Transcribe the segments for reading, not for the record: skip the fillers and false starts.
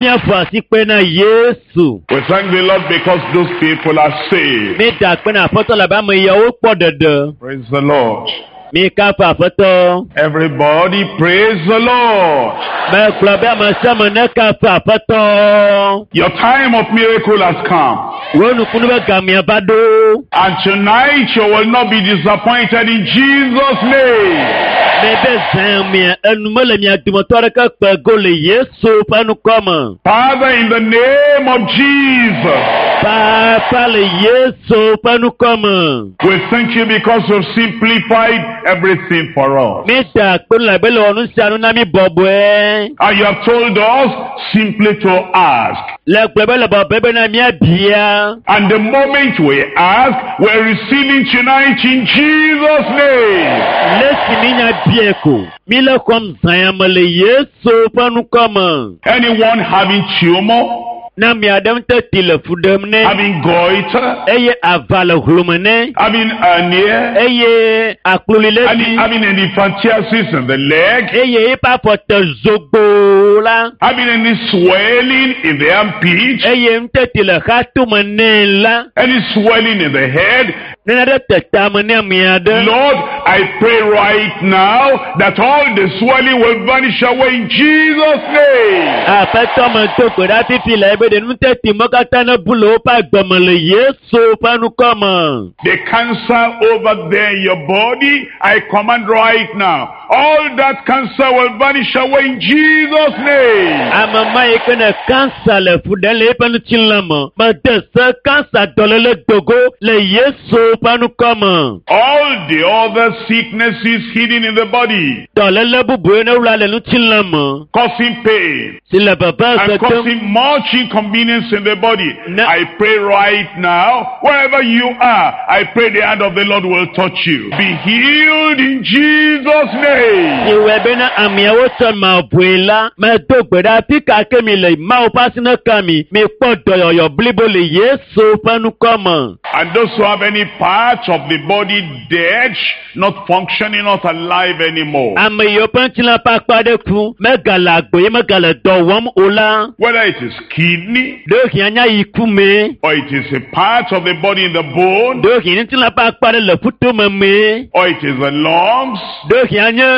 Míaƒo asikpe na Yesu. We thank the Lord because those people are saved. Mída akpe na Aƒetɔ labe ame yawo kpɔ ɖeɖe. Praise the Lord. Mikafu Aƒetɔ. Everybody praise the Lord. Megblɔ be ame sia ame nekafu Aƒetɔ. Your time of miracle has come. Wò nukunu be gamea va ɖo. And tonight you will not be disappointed in Jesus' name. Mebe zã mia enu mele mia dometɔ aɖeke kpe go le Yesu ƒe ŋkɔ me. Father, in the name of Jesus, Papa le Yesu ƒe ŋkɔ me. we thank you because you've simplified everything for us. Mída akpe labe le wɔ nu sia nu na mí bɔbɔe. And you have told us simply to ask. Le gblɔ be le bɔbɔe bena míabia. And the moment we ask, we're receiving tonight in Jesus' name. Le si mínya bia ko. Míle xɔm zã ya me le Yesu ƒe ŋkɔ me. Anyone having tumor, Ne ame aɖe ŋutɔ ti le fu ɖem nɛ having goiter, eye ava le hlome nɛ having hernia, eye akploli le any, dzi having elephantiasis in the leg, eye eƒe afɔ te zogboo la having any swelling in the armpit, eye ŋutɔ le xatome nɛ la any swelling in the head. ne nane te tame ne ame aɖe. Lord, I pray right now that all the swelling will vanish away in Jesus' name. Aƒetɔ me do gbe ɖa fifi le ebe ɖe nuteti me katã ne bu le woƒe agbe me le Yesu ƒe ŋkɔ me. The cancer over there in your body, I command right now. All that cancer will vanish away in Jesus' name. Ame ma yi ke ne kansa le fu ɖem le eƒe ŋutilã me, mede se kansa dɔléle dogo le Yesu ƒe ŋkɔ me. All the other sicknesses hidden in the body, Dɔléle bubu ne wla le ŋutilã me causing pain si le veve and setem. causing much inconvenience in the body. No. I pray right now, wherever you are, I pray the hand of the Lord will touch you. Be healed in Jesus' name. Iwɛ bena ameawo tsɔ mavɔe la, medo gbe ɖa fi ka ke mi le Mawu ƒe asi ne ka mi, mikpɔ dɔyɔyɔ blibo le Yesu ƒe ŋkɔ me. And those who have any part of the body dead, not functioning, not alive anymore. Ame yiwo ƒe ŋutilã ƒe akpa ɖe ku, megale agbe ye megale dɔ wɔm o la, Whether it is kidney, ɖewohĩ anya yi ku mee, or it is a part of the body in the bone, ɖewohĩ ŋutilã ƒe akpa ɖe le ƒutome mee, or it is the lungs, ɖewohĩ anye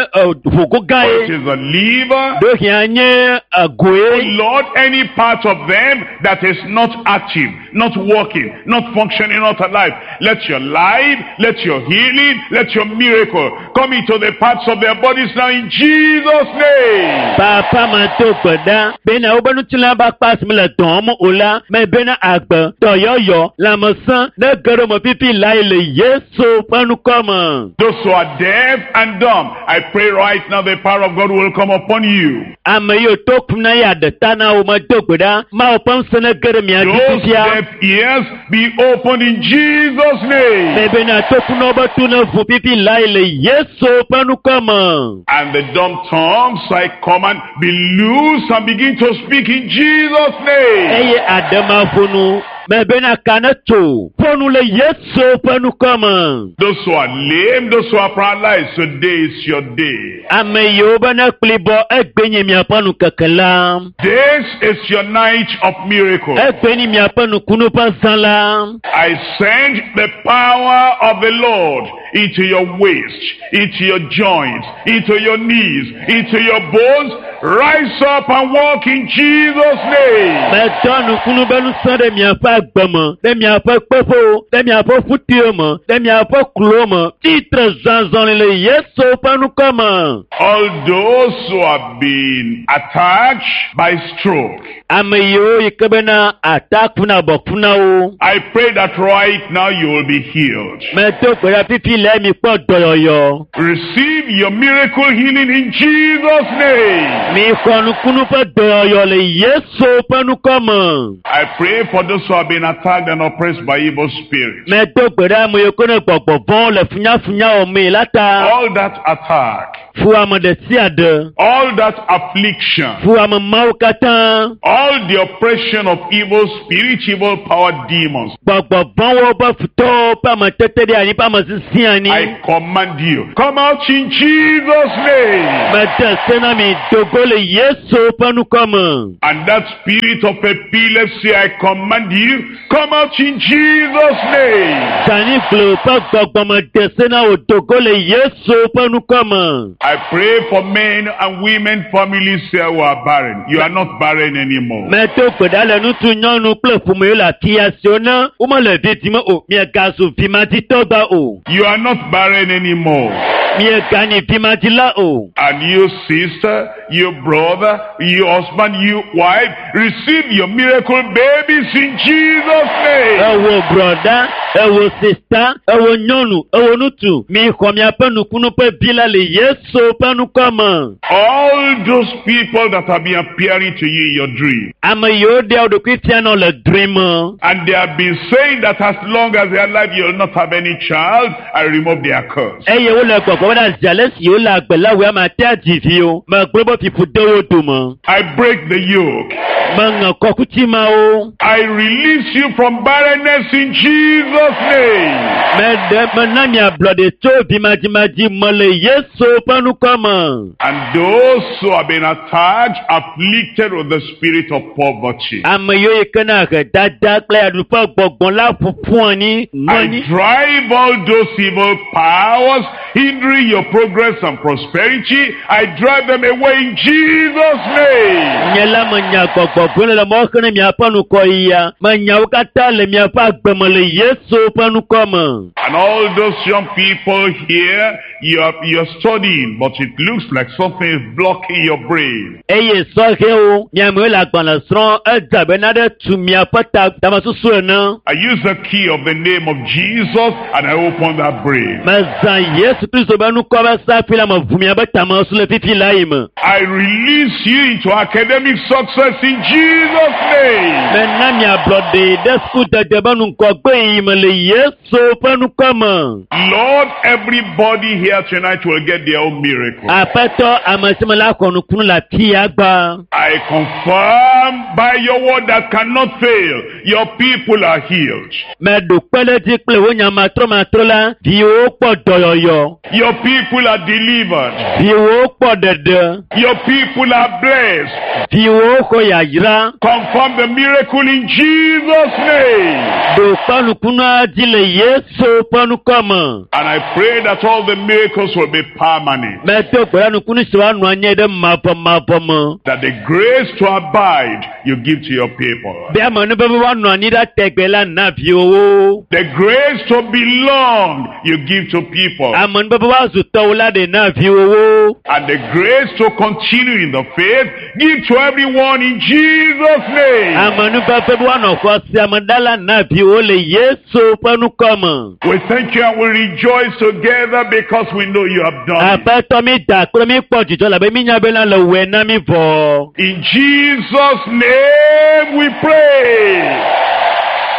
ʋugo gã or it ye, is the liver. ɖewohĩ anye egoe. Lord, any part of them that is not active, not working, not functioning, not alive, let your life, let your healing, let your miracle come into the parts of their bodies now in Jesus' name. Papa me do gbe ɖa bena woƒe ŋutilã ƒe akpa si mele dɔ wɔm o la, mebena agbe, dɔyɔyɔ, lãmesẽ ne ge ɖe me fifi lae le Yesu ƒe ŋkɔ me. Those who are deaf and dumb, I pray right now the power of God will come upon you. Ame yiwo to kum na ya ɖe ta na wo medo gbe ɖa, Mawu ƒe ŋusẽ ne ge ɖe mia dzi Those fifia. deaf ears be opened in Jesus' name. Mebena tokunɔwo be tu ne ʋu fifi lae le Yesu ƒe ŋkɔ me. And the dumb tongues, I command, be loose and begin to speak in Jesus' name. Eye aɖemaƒonu, mebena ka ne tso, ƒonu le Yesu ƒe ŋkɔ me. Those who are lame, those who are paralyzed, today is your day. Ame yiwo be ne kplibɔ egbe nye miaƒe nukeke la. This is your night of miracle. Egbe nye miaƒe nukunu ƒe zã la. I send the power of the Lord into your waist, into your joints, into your knees, into your bones. Rise up and walk in Jesus' name. Medɔ nukunu be ŋusẽ ɖe miaƒe agbe me, ɖe miaƒe kpeƒewo, ɖe miaƒe ƒutiwo me, ɖe miaƒe klowo me. Tsitre zɔzɔli le Yesu ƒe ŋkɔ me. All those who have been attacked by stroke, Ame yiwo yi ke bena ata kuna abɔ kuna wo. I pray that right now you will be healed. Medo gbe ɖa fifi le mi kpɔ dɔyɔyɔ. Receive your miracle healing in Jesus' name. Mi xɔ nukunu ƒe dɔyɔyɔ le Yesu ƒe ŋkɔ me. I pray for those who have been attacked and oppressed by evil spirits. Medo gbe ɖa ame yiwo ke ne gbɔgbɔ vɔ̃wo le funyafunya wɔmee la ta. All that attack, Fu ame ɖe sia ɖe. all that affliction, Fu ame mawo katã. all the oppression of evil spirits, evil power demons. Gbɔgbɔ vɔ̃wo ƒe futɔwo ƒe ametete ɖe anyi ƒe ame sisi anyi. I command you, come out in Jesus' name. Mede se na mi dogo le Yesu ƒe ŋkɔ me. And that spirit of epilepsy, I command you, come out in Jesus' name. Zanigble ƒe gbɔgbɔ me de se na wò dogo le Yesu ƒe ŋkɔ me. I pray for men and women, families here who are barren. You are not barren anymore. Medo gbe ɖa le ŋutsu, nyɔnu kple ƒome yiwo le afia siwo ne womele vi dim o, miegazu vimaditɔ gba o. You are not barren anymore. Mieganyi vimadila o. And you sister, you brother, you husband, you wife, receive your miracle babies in Jesus' name. Ewo brɔda, ewo sista, ewo nyɔnu, ewo ŋutsu, mixɔ miaƒe nukunu ƒe vi la le Yesu ƒe ŋkɔ me. All those people that have been appearing to you in your dream, Ame yiwo ɖea wo ɖokui fiana le drɔ̃e me. and they have been saying that as long as they are alive, you'll not have any child, I remove their curse. Eye wole gbɔgbɔ be zi ale si wole agbe la wòe ame ate adzi vi o. Megblɔ be fiƒu de wo dome. I break the yoke. Meŋe kɔkuti mawo. I release you from barrenness in Jesus' name. Meɖe mena mi ablɔɖe tso vimadzimadzi me le Yesu ƒe ŋkɔ me. And those who have been attacked, afflicted with the spirit of poverty, Ame yiwo yi ke na ahedada kple yaɖuƒe gbɔgbɔ la ƒoƒu anyi nɔ I anyi. drive all those evil powers hindering your progress and prosperity. I drive them away in Jesus' name. Nye la menya gbɔgbɔ vɔ̃ le mɔ xe ne miaƒe ŋgɔyia. Menya wo katã le miaƒe agbe me le Yesu ƒe ŋkɔ me. And all those young people here, you're studying, but it looks like something is blocking your brain. Eye sɔhɛwo, miamewo le agbalẽ srɔ̃m, edze abe nane tu miaƒe ta tamesusu ene. I use the key of the name of Jesus and I open that brain. Mezã Yesu Kristo be ŋkɔ be safi la meʋu miaƒe tamesusu le fifi la yi me. I release you into academic success in Jesus' name. Mena miablɔɖe ɖe sukudede be ŋgɔgbe yi me le Yesu ƒe ŋkɔ me. Lord, everybody here tonight will get their own miracle. Aƒetɔ, ame sia ame la xɔ nukunu le afia gba. I confirm by your word that cannot fail, your people are healed. Meɖo kpe ɖe edzi kple wò nya matrɔmatrɔ la, viwòwo kpɔ dɔyɔyɔ, Your people are delivered. viwòwo kpɔ ɖeɖe, Your people are blessed. viwòwo xɔ yayra. Confirm the miracle in Jesus' name. Ɖo kpe nukunua dzi le Yesu ƒe ŋkɔ me. And I pray that all the miracles will be permanent. Medo gbe ɖa nukunu si woanɔ anyi ɖe mavɔmavɔ me. That the grace to abide you give to your people. Be ame nu be woanɔ anyi ɖe tegbe la na viwòwo. The grace to belong you give to people. Ame nu be woazu tɔwo la ɖe na viwòwo. And the grace to continue in the faith give to everyone in Jesus' name. Ame nu be woanɔ xɔse ame ɖa la na viwòwo le Yesu ƒe ŋkɔ me. We thank you and we rejoice together because we know you have done it. Aƒetɔ mi da kple mi kpɔ dzidzɔ labe mi nya bena le wɔe na mi vɔ. In Jesus' name we pray.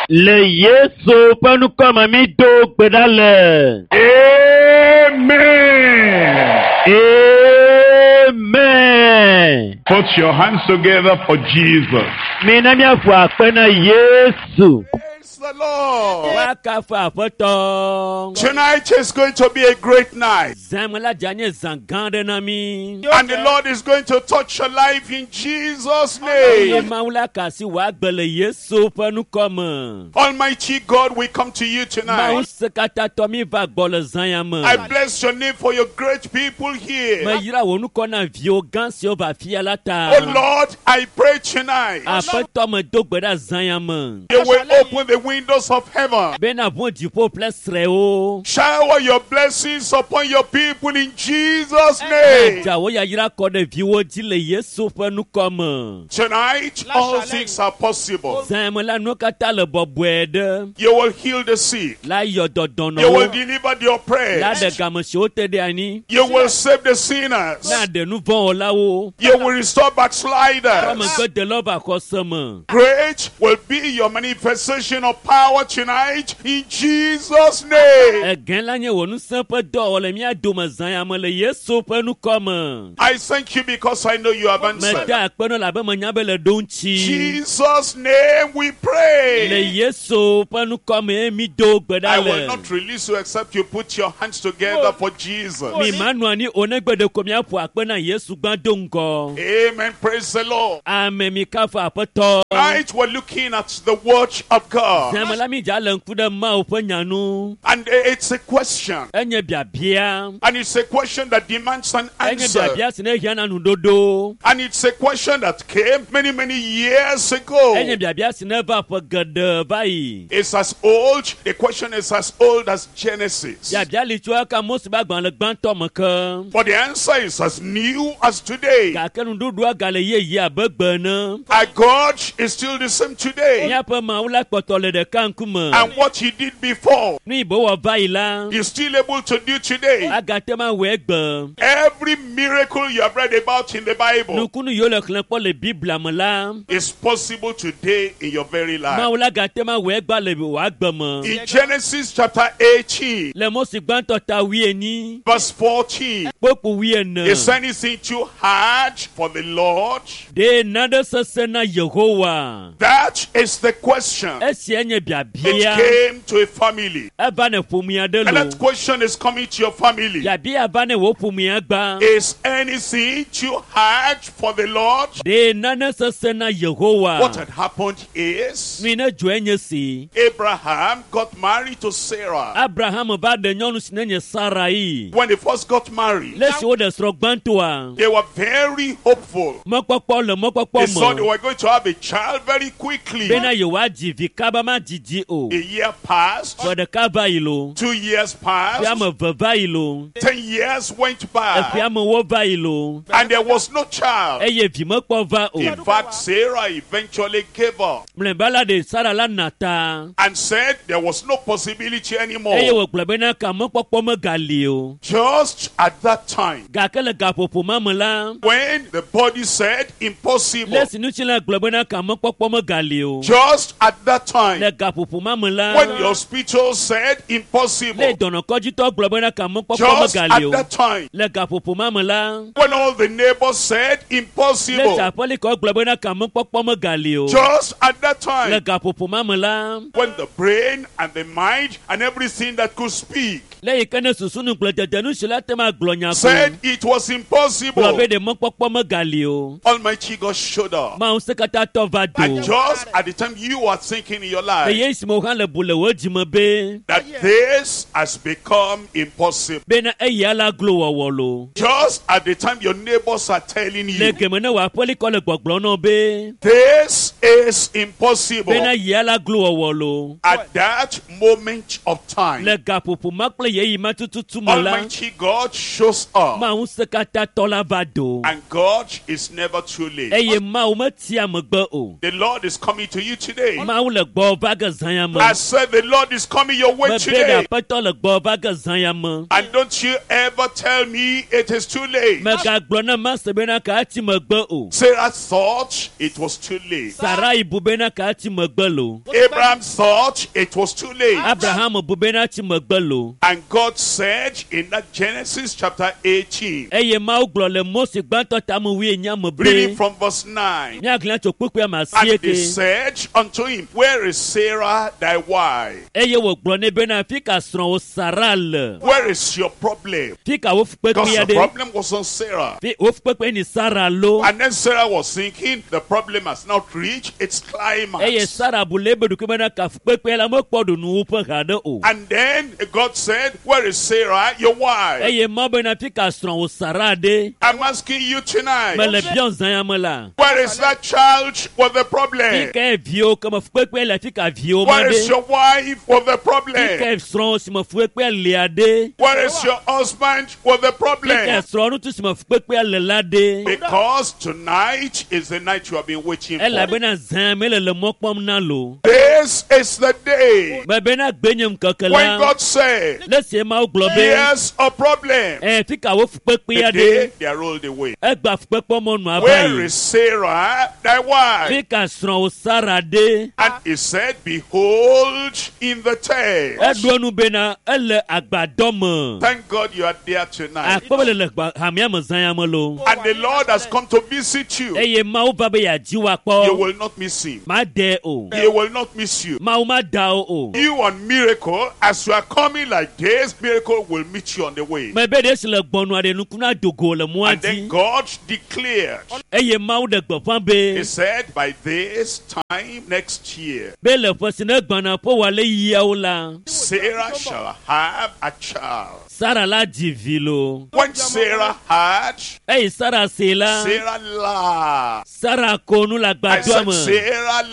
Le Yesu ƒe ŋkɔ me mi do gbe ɖa le. Amen. Amen. Put your hands together for Jesus. Mi na miaƒo akpe na Yesu. Praise the Lord. Woakafu Aƒetɔ. Tonight is going to be a great night. Zãme la dze anye zã gã aɖe na mí. And the Lord is going to touch your life in Jesus' Eye name. Mawu la ka asi wò agbe le Yesu ƒe ŋkɔ me. Almighty God, we come to you Mawu tonight. sekatãtɔ mi va gbɔ le zã ya me. I bless your name for your great people here. Meyra wò ŋkɔ na viwò gã siwo va afia la ta. Oh Lord, I pray tonight. Aƒetɔ medo gbe ɖa zã ya me. You will open the windows of heaven. Bena ʋu dziƒo ƒe srɛwo. Shower your blessings upon your people in Jesus' name. Dza wò yayra kɔ ɖe viwò dzi le Yesu ƒe ŋkɔ me. Tonight, all things are possible. Zã ya me la nuwo katã le bɔbɔe ɖe. You will heal the sick. La yɔ You dɔdɔnɔwo. will deliver the La ɖe oppressed. game siwo te ɖe anyi. You will save the sinners. Na ɖe nu vɔ̃ wɔlawo. You will restore backsliders. Megbe delawo va xɔse me. Great will be your manifestation working of power tonight in Jesus' name. Egã la nye wò ŋusẽ ƒe dɔwɔwɔ le mía dome zã ya me le Yesu ƒe ŋkɔ me. I thank you because I know you have answered. Meda akpe na wò elabe menya be le ɖo ŋuti. Jesus' name we Le pray. Yesu ƒe ŋkɔ mee mi do gbe I ɖa will le. not release you except you put your hands together for Jesus. Mi manɔ anyi o negbe ɖeko miaƒo akpe na Yesu gbã do ŋgɔ. Amen. Praise the Lord. Ame mi kafu aƒetɔ. Tonight we're looking at the word of God. Zãme la mi dza le ŋku ɖe Mawu ƒe nya nu. And it's a question. Enye biabia. And it's a question that demands an Enye answer. biabia si ne hiã na nuɖoɖo. And it's a question that came many, many years ago. Enye biabia si ne va ƒe geɖe va yi. It's as old, the question is as old as Genesis. Biabia li tso eka Mose ƒe agbalẽ gbãtɔ me ke. But the answer is as new as today. Gake nuɖuɖua gale yeye abe gbe ene. Our God is still the same today. Míaƒe Mawu la kpɔtɔ le ɖeka ŋkume. And what he did before, Nu yi be wɔ va yi la, he's still able to do today. agate ma wɔe gbe. Every miracle you have read about in the Bible Nukunu yiwo le xlẽ kpɔ le Biblia me la, is possible today in your very life. Mawu la gate ma wɔe gba le wò agbe me. In Genesis chapter 18, Le Mose gbãtɔ ta wuienyi, verse 14, kpokpo wuiene. is anything too hard for the Lord? Ɖe nane sesẽ na Yehowa? That is the question. Esia nye It biabia. came to a family. Eva ne ƒomea ɖe And lo. that question is coming to your family. Biabia va ne wò ƒomea gbã. Is anything too hard for the Lord? Ɖe nane sesẽ na What Yehowa? had happened is Nu yi ne dzɔe nye si. Abraham got married to Sarah. Abraham va ɖe nyɔnu si ne nye Sarai. When they first got married, Le esi woɖe srɔ̃ gbãtɔa, they were very hopeful. mɔkpɔkpɔ le They mɔkpɔkpɔ saw they me were going to have a child very quickly. bena yewoadzi vi kaba madzidzi o. A year passed, Ƒe ɖeka va yi lo, 2 years ƒe passed, ame eve va yi lo, 10 years went eƒe by, amewo va yi lo, and there was no child. eye vi mekpɔ va o. In fact, Sarah eventually gave up Mlɔeba la ɖe Sara la na ta and said there was no possibility eye anymore. wògblɔ bena ka mɔkpɔkpɔ megali o. Just at that time, Gake le gaƒoƒo ma me la, when the body said impossible, le esi ŋutilã gblɔ bena ka mɔkpɔkpɔ megali o. just at that time, Le gaƒoƒo ma me la, when the hospital said le impossible, dɔnɔkɔdzitɔ gblɔ bena ka mɔkpɔkpɔ just megali at o. that time, Le gaƒoƒo ma me la, when all the neighbors said le impossible, aƒelikɔ gblɔ bena ka mɔkpɔkpɔ megali o. just at that Le time, gaƒoƒo ma me la, when the brain and the mind and everything that could speak le yi ke ne susu nugblẽdede nu si la te ma gblɔ nya ko said it was gblɔ impossible, be ɖe mɔkpɔkpɔ megali o. Almighty God showed up. Mawu ŋusẽkatãtɔ va do. And just at the time you are thinking in your Le life ye si me wo hã le bu le wò dzime be that this has become impossible, bena eya la glo wɔwɔ lo. just at the time your neighbors are telling Le you geme ne wò aƒelikɔ le gbɔgblɔ nɔ be this is impossible, bena yia la glo wɔwɔ lo. at that moment of time, Le gaƒoƒo ma kple yeyi ma tututu me la, Almighty God shows up. Mawu ŋusẽkatãtɔ la va do. And God is never too late. Eye Mawu metia megbe o. The Lord is coming to you today. Mawu le gbɔ va ge zã ya me. I said the Lord is coming your way Mebe ɖe today. aƒetɔ le gbɔ va ge zã ya me. And don't you ever tell me it is too late. Megagblɔ na Mase bena ka ati megbe o. Sarah thought it was too late. Sarai bu bena ka ati megbe lo. Abraham thought it was too late. Abraham bu bena ati megbe lo. And God said in that Genesis chapter 18, Eye Mawu gblɔ le Mose gbãtɔ tame wuienyi me reading be from verse 9. míaxlẽ tso kpukpui ame And asieke. they said unto him, Where is Sarah thy wife? Eye wògblɔ nɛ bena fi ka srɔ̃wò Sara le. Where is your problem? Fi ka wò Because fukpekpea the ɖe. problem was on Sarah. Fi wò fukpekpe ni Sara lo. And then Sarah was thinking, the problem has not reached its Eye climax. Sara bu le ebe ɖokui bena ka fukpekpea la mekpɔ ɖu nuwuƒe haɖe o. And then God said, Where is Sarah, your wife? Eye Mawu bena fi ka srɔ̃wò Sara ɖe. I'm asking you tonight, Mele biɔ zã ya me la. where is that child with the Fi problem? ka viwo ke me fukpekpe le fi ka viwo ma Where is ɖe. your wife with the Fi problem? ka srɔ̃wò si me fukpekpea lia ɖe. Where is your husband with the Fi ka problem? srɔ̃ŋutsu si me fukpekpea le la ɖe. Because tonight is the night you have been waiting for. Elabena zã me le le mɔ kpɔm na lo. This This is the day Mebe na gbe nye ŋkeke when la. God said, Le sie Mawu gblɔ be. Here's a problem. Ɛ fi ka wo fukpekpe The day aɖe. they are rolled away. Egba fukpekpe mɔnu ava Where yi. is Sarah, thy wife? Fi ka srɔ̃wò Sara ɖe. And he said, Behold, in the tent. Eɖo enu bena ele agbadɔ me. Thank God you are there tonight. Akpɔ be le le gba- hamea me zã ya me lo. And the Lord has come to visit you. Eye Mawu va be yeadzi wò You akpɔ. will not miss him. Ma de o. He will not miss you. Mawu ma da wo o. You on miracle, as you are coming like this, miracle will meet you on the way. Mebe ɖe si le gbɔnua ɖe nukuna dogo le mɔa And then dzi. God declared, Eye Mawu ɖe gbeƒã be He said, by this time next year, be le ƒe si ne gbɔna ƒe wòale yiawo la, Sarah shall have a child. Sara la dzi vi lo. When Sarah had, Eye Sara se la, Sarah laughed. Sara ko nu le I agbadɔa said, me. Sarah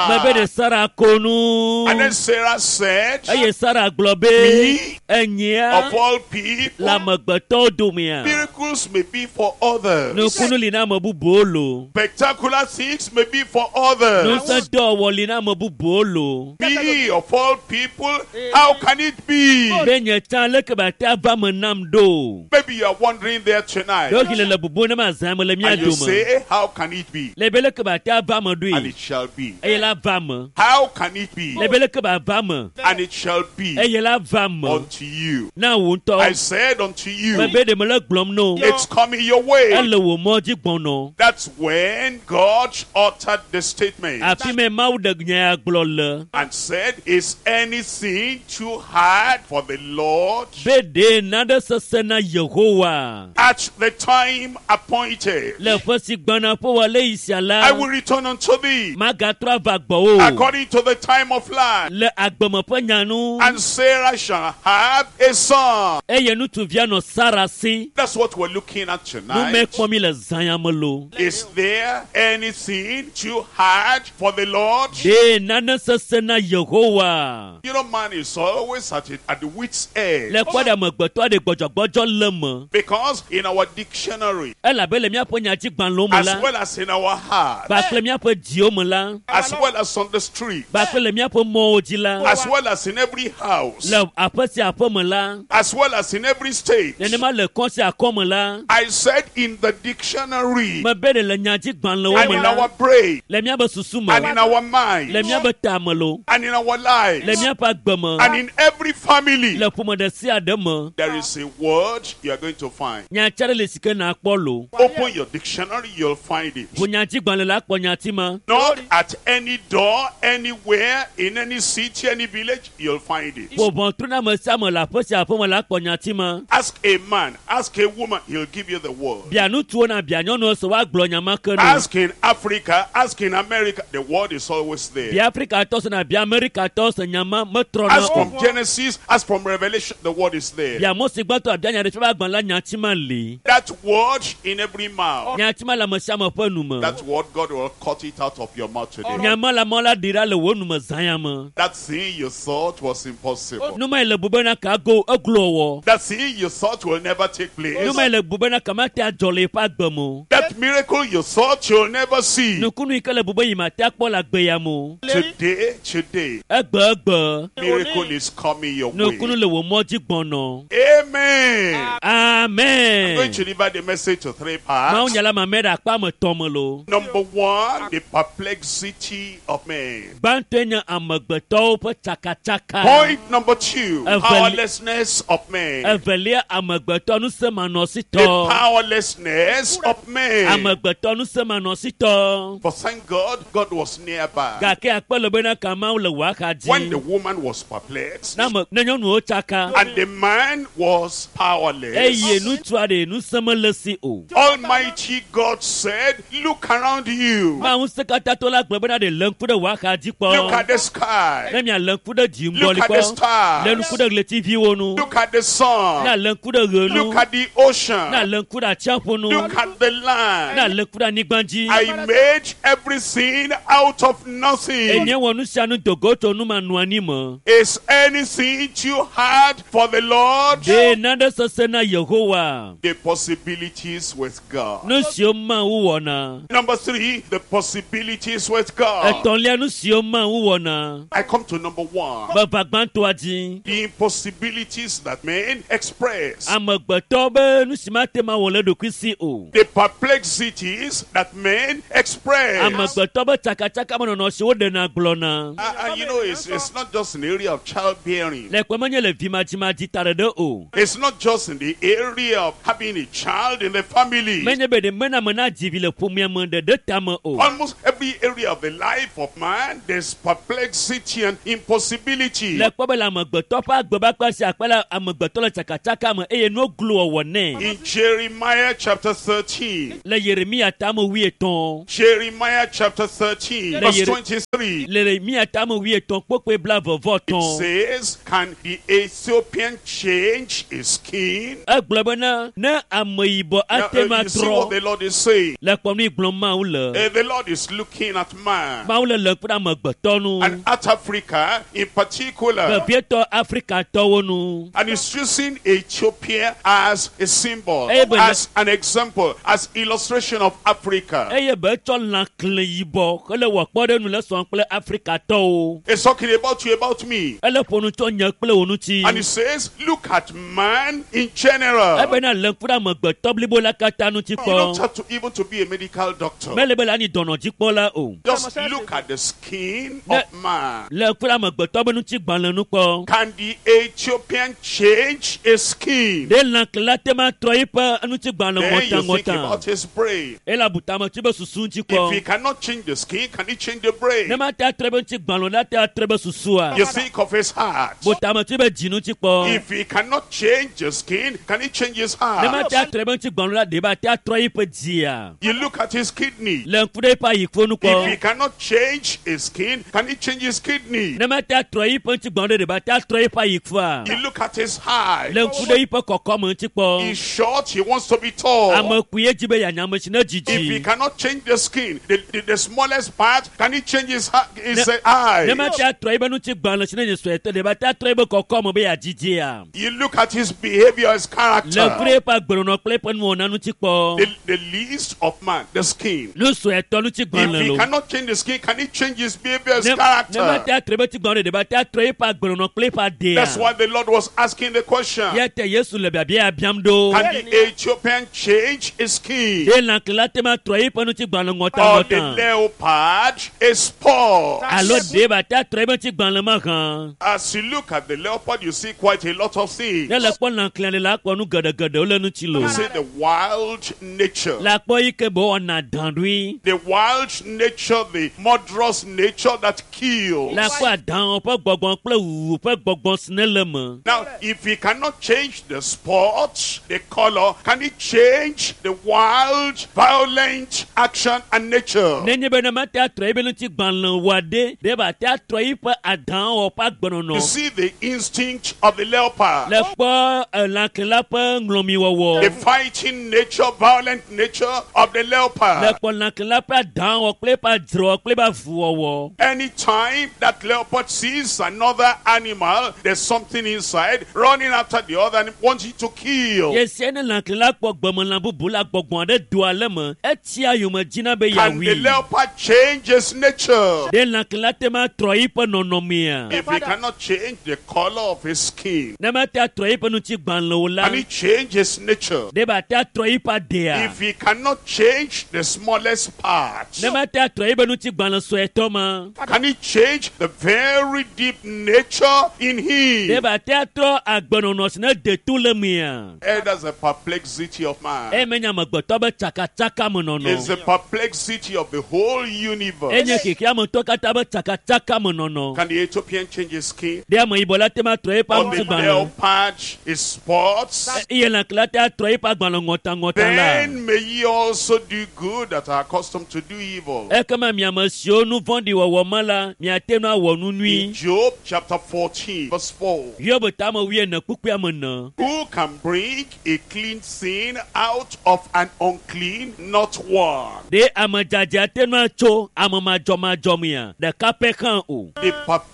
Mebe ɖe laughed. Sara ko nu. And then Sarah said, Eye Sara gblɔ be Me, enyia of all le people, amegbetɔwo domea. miracles may be for others. Nukunu li na ame bubuwo lo. Spectacular things may be for others. Ŋusẽ dɔwɔwɔ li na ame bubuwo lo. Me, of all people, how can it be? Be nye tsã leke be ate ava me nam ɖo. Maybe you are wondering there tonight. Ɖewohĩ le le bubu ne ma zã me le mía And you dome. say, how can it be? Le be leke be ate ava me And ɖoe. it shall be. Eye la va me. How can it be? Le be leke be ava me. And it shall be Eye la va me. unto you. Na wò I ŋutɔ. said unto you, Mebe ɖe mele gblɔm no. it's coming your way. Ele wò mɔ dzi gbɔnɔ. That's when God uttered the statement Afi me Mawu ɖe nya ya gblɔ le. and said, Is anything too hard for the Lord? Be ɖe naɖe sesẽ na Yehowa. At the time appointed, Le ƒe si gbɔna ƒe wòale yi sia la. I will return unto thee Magatrɔ ava gbɔwò. according to the time of life. Le agbeme ƒe nya nu. And Sarah shall have a son. Eye ŋutsuvia nɔ Sara si. That's what we're looking at Nu me tonight. kpɔm mi le zã ya me lo. Is there anything too hard for the Lord? Ɖe nane sesẽ na Yehowa. You know, man is always at the wit's edge. Le kpɔ ɖe amegbetɔ ɖe gbɔdzɔgbɔdzɔ le me. Because in our dictionary, Elabe le míaƒe nyadzigbalẽwo me as la, well as in our heart, kpakple míaƒe dziwo me la, as well as on the street, kpakple le míaƒe mɔwo dzi la, as well as in every house, le aƒe sia aƒe me la, as well as in every state. nenema le kɔ sia kɔ me la, I said in the dictionary, mebe ɖe le nyadzigbalẽwo and me in la, our brain, le míaƒe susu me, and in our mind, le míaƒe ta me lo, and in our le lives, míaƒe agbe me, and in every family, le ƒome ɖe sia ɖe me. there is a word you are going to find. Nyatsi aɖe le si ke nakpɔ lo. Open your dictionary, you'll find it. Ʋu nyadzigbalẽ la kpɔ nyati ma. Knock at any door, anywhere, in any city, any village, you'll find it. Ƒo ʋɔtru na ame sia ame le aƒe sia aƒe me la kpɔ nyati ma. Ask a man, ask a woman, he'll give you the word. Bia ŋutsuwo na bia nyɔnuwo se woagblɔ nya ma ke no. Ask in Africa, ask in America, the word is always there. Bia Afrikatɔ se na bia Amerikatɔ se nya ma metrɔna Ask o. from Genesis, ask from Revelation, the word is there. Bia Mose gbãtɔ abia nya ɖe ƒe agbalẽ la nyati ma li. That word in every mouth, Nyati ma le ame sia ame ƒe nu me. that word, God will cut it out of your mouth today. Nya ma le amewo la ɖi ɖa le wò nu me zã ya me. That thing you thought was impossible. Nu ma yi le bu bena ka go eglo wɔ. That thing you thought will never take place. Nu ma yi le bu bena ka mate adzɔ le eƒe agbe me o. That miracle you thought you'll never see. Nukunu yi ke le bu be yi mate akpɔ le agbe ya me o. Today, today, Egbe egbe. miracle is coming your Nukunu way. le wò mɔ dzi gbɔnɔ. Amen. I'm Amen. going to divide the message to three Mawu parts. nya la ma mɛ ɖe akpa me tɔ me lo. Number one, the perplexity of man. Gbãtɔe nye amegbetɔwo ƒe tsakatsaka. Point number two, Evel- powerlessness of man. Evelia amegbetɔ The ŋusẽmanɔsitɔ. powerlessness of man. Amegbetɔ ŋusẽmanɔsitɔ. But thank God, God was nearby. Gake akpe le bena ka Mawu le wò axa When the dzi. woman was perplexed Ne ame ne nyɔnuwo tsaka and the man was eye powerless, ŋutsua ɖe ŋusẽ mele si o. Almighty God said, Look around you. Mawu ŋusẽkatãtɔ la gblɔ bena ɖe lé ŋku ɖe wò axa dzi Look kpɔ. at the sky. Ne mialé ŋku ɖe dziŋgɔli Look at the kpɔ. Lé stars. ŋku ɖe ɣletiviwo nu. Look at the Ne sun. alé ŋku ɖe ɣe nu. Look at the ocean. Ne alé ŋku ɖe atsiaƒu nu. Look at the Ne land. alé ŋku ɖe anyigba dzi. I made everything out of nothing. Enye wɔ nu sia nu dogo tso nu ma nu anyi me. Is anything too hard for the Lord? Lord? Ɖe nane sesẽ na Yehowa? The possibilities with God. Nu siwo Mawu wɔna. Number 3, the possibilities with God. Etɔ̃lia, nu siwo Mawu wɔna. I come to number 1. Meva gbãtɔa dzi. The impossibilities that men express. Amegbetɔ be nu si mate ŋu awɔ le eɖokui si o. The perplexities that men express. Amegbetɔ be tsakatsakamenɔnɔ si woɖena gblɔna. And you know, it's not just in the area of childbearing. Le kpe menye le vimadzimadzi ta ɖeɖe o. It's not just in the area of having a child in the family. Menye be ɖe mena ame nadzi vi le ƒomea me ɖeɖe tame o. Almost every area of the life of man, there's perplexity and impossibility. Le kpɔ be le amegbetɔ ƒe agbe be akpa sia akpa la, amegbetɔ le tsakatsaka me eye nuwo glo wɔwɔ nɛ. In Jeremiah chapter 13. Le Yeremia tame wuietɔ̃. Jeremiah chapter 13, Le verse Yere- 23. Le Yeremia tame wuietɔ̃ kpokpoe blaeve-vɔ-etɔ̃. It says, can the Ethiopian change his skin? Egblɔ bena ne ameyibɔ Now, ate ŋu you see what atrɔ the Lord is saying. le kpɔ nu yi gblɔm Mawu le. The Lord is looking at man. Mawu le le kpe ɖe amegbetɔ nu. And at Africa in particular. Vevietɔ Afrikatɔwo nu. And he's using Ethiopia as a symbol, Amen. as an example, as illustration of Africa. Eye be etsɔ lãkle yibɔ hele wɔ kpɔɖeŋu le sɔm kple Afrikatɔwo. He's talking about you, about me. Ele ƒo nu tso nye kple wò ŋuti. And he says, look at man in general. Ebena le ŋku ɖe amegbetɔ blibo la katã ŋuti You don't kpɔ. have to even to be a medical doctor. Mele be le anyi dɔnɔdzikpɔla o. Just look at the skin Ne- of man. Le ŋku ɖe amegbetɔ be ŋutigbalẽ nu kpɔ. Can the Ethiopian change his skin? Ɖe lãkle la te ma trɔ eƒe ŋutigbalẽ Then you think ŋɔtaŋɔta. about his brain. Ele abu tame tso be susu ŋuti If he kpɔ. cannot change the skin, can he change the brain? Ne mate atrɔ ebe ŋutigbalẽ o la te atrɔ ebe susua. You think of his heart. Bu tame tso ebe dzi ŋuti kpɔ. If he cannot change the skin, can he change his Ne heart? mate atrɔ ebe ŋutigbalẽ o la ɖe be ate atrɔ eƒe dzia. You look at his kidney. Le ŋku ɖe eƒe ayiƒo nu If he kpɔ. cannot change his skin, can he change his kidney? Ne mate atrɔ eƒe ŋutigbalẽ ɖe ɖe be ate atrɔ eƒe ayiƒoa. You look at his height. Le ŋku ɖe eƒe kɔkɔme ŋuti kpɔ. He's short, he wants to be tall. Ame kpuie dzi be yeanya ame si ne If he dzidzi. cannot change the skin, the smallest part, can he change his Ne eye? mate atrɔ ebe ŋutigbalẽ si ne nye suetɔ ɖe be ate atrɔ ebe kɔkɔme be yeadzidzia. You look at his behavior, his Le ŋku character. ɖe eƒe agbenɔnɔ kple eƒe nuwɔna ŋuti kpɔ. The least of man, the skin. Nu suetɔ If ŋutigbalẽ he lo. cannot change the skin, can he change his behavior, his Ne mate character? atrɔ ebe ŋutigbalẽ ɖe be ate atrɔ eƒe agbenɔnɔ kple eƒe adea. That's why the Lord was asking the question. Ya te Yesu le biabia biam ɖo. Can the Ethiopian change his skin? Ɖe lãkle la te ma trɔ eƒe ŋutigbalẽ Or the ŋɔtaŋɔta. leopard his spot? Alo ɖe be ate atrɔ eƒe ŋutigbalẽ mahã. As you look at the leopard, you see quite a lot of things. Ne le kpɔ lãkle le la kpɔ nu geɖegeɖewo le ŋuti lo. You see the wild nature. La kpɔ yi ke be wɔna dã ɖoe. The wild nature, the murderous nature that kills. La kpɔ adãwo ƒe gbɔgbɔ kple wuwu ƒe gbɔgbɔ si ne le me. Now, if he cannot change the spot, the color, can he change the wild, violent action and nature? Nenye be ne mate atrɔ ebe ŋutigbalẽ wɔa ɖe, ɖe be ate atrɔ eƒe adãwo ƒe agbenɔnɔ. You see the instinct of the leopard. Le kpɔ lãkle la ƒe ŋlɔmiwɔwɔ. The fighting nature, violent nature of the Le leopard. kpɔ lãkle la ƒe adãwɔ kple eƒe adzrewɔ kple eƒe avuwɔwɔ. Anytime that leopard sees another animal, there's something inside running after the other and wanting to kill. Yesia ne lãkle la kpɔ gbemelã bubu la gbɔgbɔ aɖe doa le me, etsia yome dzina be Can the yeawui. leopard change his nature? Ɖe lãkle la te ma trɔ eƒe nɔnɔmea? If he cannot change the color of his skin, Ne mate atrɔ eƒe ŋutigbalẽ o la, can he change his nature? ɖe be ate atrɔ eƒe adea? If he cannot change the smallest part, Ne mate atrɔ eƒe ŋutigbalẽ suetɔ ma, can he change the very deep nature in ɖe him? be ate atrɔ agbenɔnɔ si ne de to le mea? That's the perplexity of man. Eye menye amegbetɔ be tsakatsaka me It's nɔnɔ. the perplexity of the whole universe. Enye xexeametɔ katã be tsakatsaka me nɔnɔ. Can the Ethiopian change his skin? Ɖe ameyibɔ la te ma trɔ eƒe Or the ŋutigbalẽ? leopard his spots? Eye lãkle la te atrɔ eƒe agbalẽ ŋɔtaŋɔta la. Then may ye also do good that are accustomed to do evil. Ekema miame siwo nu vɔ̃ɖi wɔwɔ me la, miate ŋu awɔ nu In nyui. Job chapter 14, verse 4. Hiob tame wuiene kpukpuia me ne. Who can bring a clean sin out of an unclean? Not one. Ɖe ame dzadzɛ ate ŋu atso ame madzɔmadzɔ mea? Ɖeka pɛ hã o. The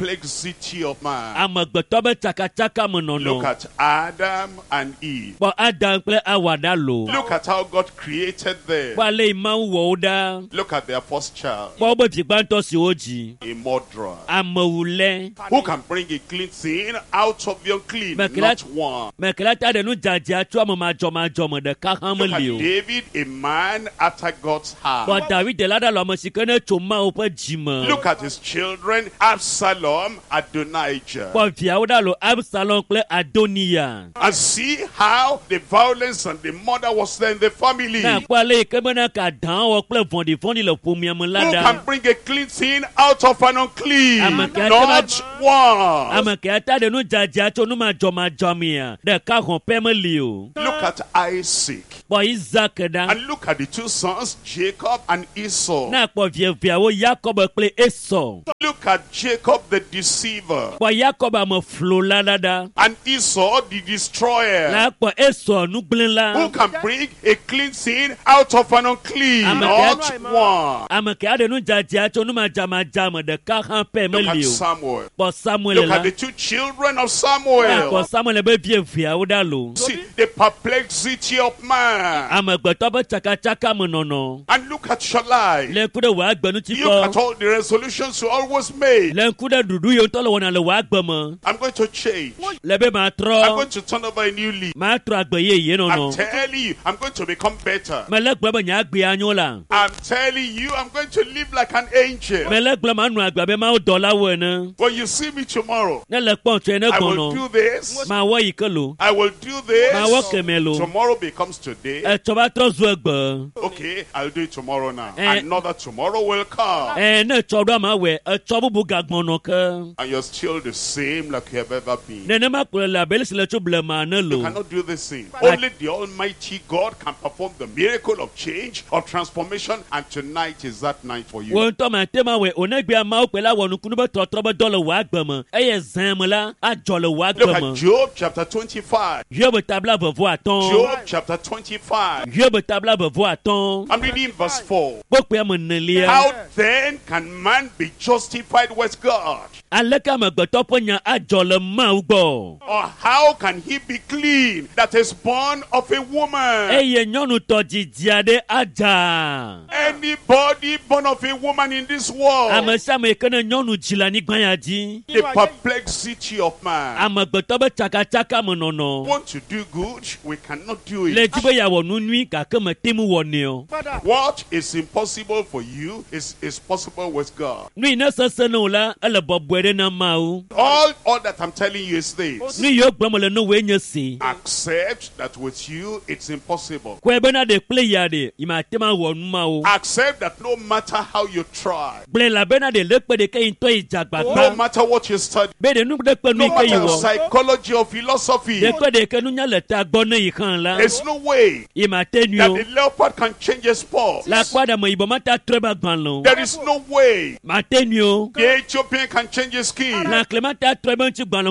perplexity of man. Amegbetɔ be tsakatsaka me Look Look at Adam and Eve. Kpɔ Adam kple Awa ɖa lo. Look at how God created them. Kpɔ ale yi Mawu wɔ wo ɖa. Look at their first child, Kpɔ wobe vi gbãtɔ si wodzi. a murderer. Amewulɛ. Who can bring a clean thing out of the unclean? But Not one. Meke la ta ɖe nu dzadzea tso ame madzɔmadzɔ me ɖeka hã Look at meli o. David, a man after God's heart. Kpɔ David la ɖa le ame si ke ne tso Mawu ƒe dzi me. Look at his children, Absalom, Adonijah. Kpɔ viawo ɖa lo Absalom kple Adoniya. And see how the violence and the murder was there in the family. Ne akpɔ ale yi ke bena ka dã wɔ kple vɔ̃ɖivɔ̃ɖi le ƒomea me la Who ɖa. can bring a clean thing out of an unclean? Ame ke Not one. Ame ke ata ɖe nu dzadzea tso nu madzɔmadzɔ mea, ɖeka hɔn pɛ meli o. Look at Isaac. Kpɔ Isaac ɖa. And look at the two sons, Jacob and Esau. Ne akpɔ vi eveawo Yakob kple Esau. Look at Jacob the deceiver Kpɔ Yakob ame flola la ɖa. and Esau the destroyer. La kpɔ Esau nugblẽla. Who can bring a clean thing out of an unclean? Ame Not ke- one. Ame ke aɖe nu dzadzea tso nu madzamadza me ɖeka hã pɛ Look at meli o. Samuel. Kpɔ Samuel Look la. at the two children of Ne akpɔ Samuel. Samuel be vi eveawo ɖa lo. See the perplexity of man. Amegbetɔ ƒe tsakatsaka me nɔnɔ. And look at your life. Le ŋku ɖe wò agbe ŋuti Look at kpɔ. all the resolutions you always make. Le ŋku ɖe ɖuɖu yi ŋutɔ le wɔna le wò agbe me. I'm going to change. Le be I'm matrɔ. going to turn over a new leaf. Matrɔ agbe yeye I'm nɔnɔ. telling you, I'm going to become better. Mele gblɔ be nye agbea nyo la. I'm telling you, I'm going to live like an angel. Mele gblɔ manɔ agbe abe Mawu dɔlawo ene. When you see me tomorrow, Ne le kpɔm tsoe ne I will gbɔnɔ. do this. Mawɔ yi ke lo. I will do this. Mawɔ kemɛ lo. Tomorrow becomes today. Etsɔ va trɔ zu egbe. Okay, I'll do it tomorrow now. Eh. Another tomorrow will come. Ɛ ne etsɔ ɖo ama wɔe, etsɔ bubu gagbɔnɔ ke. And you're still the same like you have ever been. Nenema kplɔ le abe ale si le tso blema ene You lo. cannot do this thing. Only the Almighty God can perform the miracle of change, of transformation, and tonight is that night for you. Wo ŋutɔ mate ma wɔe o negbea Mawu kpe la wɔ nukunu be trɔtrɔ be dɔ le wò agbe me eye zã me la adzɔ le wò Look agbe at me. Job chapter 25. Hiob tabla vevɔ atɔ̃. Job chapter 25. Hiob tabla vevɔ atɔ̃. I'm reading verse 4. Kpokpoe me enelia. How then can man be justified with God? Aleke amegbetɔ ƒe nya adzɔ le Mawu gbɔ? Or how can he be clean that is born of a woman? Eye nyɔnutɔ dzidzi aɖe adza. Anybody born of a woman in this world, Ame sia ame yi ke ne nyɔnu dzi le anyigba ya dzi. the perplexity of man. Amegbetɔ be tsakatsaka me nɔnɔ. Want to do good, we cannot do Le it. dzi be yeawɔ nu nyui gake mete ŋu wɔnɛ o. What is impossible for you is possible with God. Nu yi ne sesẽ na wò la, ele bɔbɔe ɖe na Mawu. All that I'm telling you is this. Nu yiwo gblɔm le ne wòe nye si. Accept that with you it's impossible. Kɔe bena ɖe kple ya ɖe, yi mate ŋu awɔ nu mawo. Accept that no matter how you try, Gblɔe elabena ɖe le kpe ɖeke yi ŋutɔ yi dze no agbagba. matter what you study, Be ɖe nu ɖe kpe nu no yi ke yi matter wɔ. psychology or philosophy, Ɖe kpe ɖeke nunya le tagbɔ ne yi hã la, there's no way yi mate nui that o. the leopard can change his spots. Le akpa ɖe me yibɔ mate atrɔ ebe agbalẽ o. There is no way Mate nui o. the Ethiopian can change his skin. Lãkle mate atrɔ ebe ŋutigbalẽ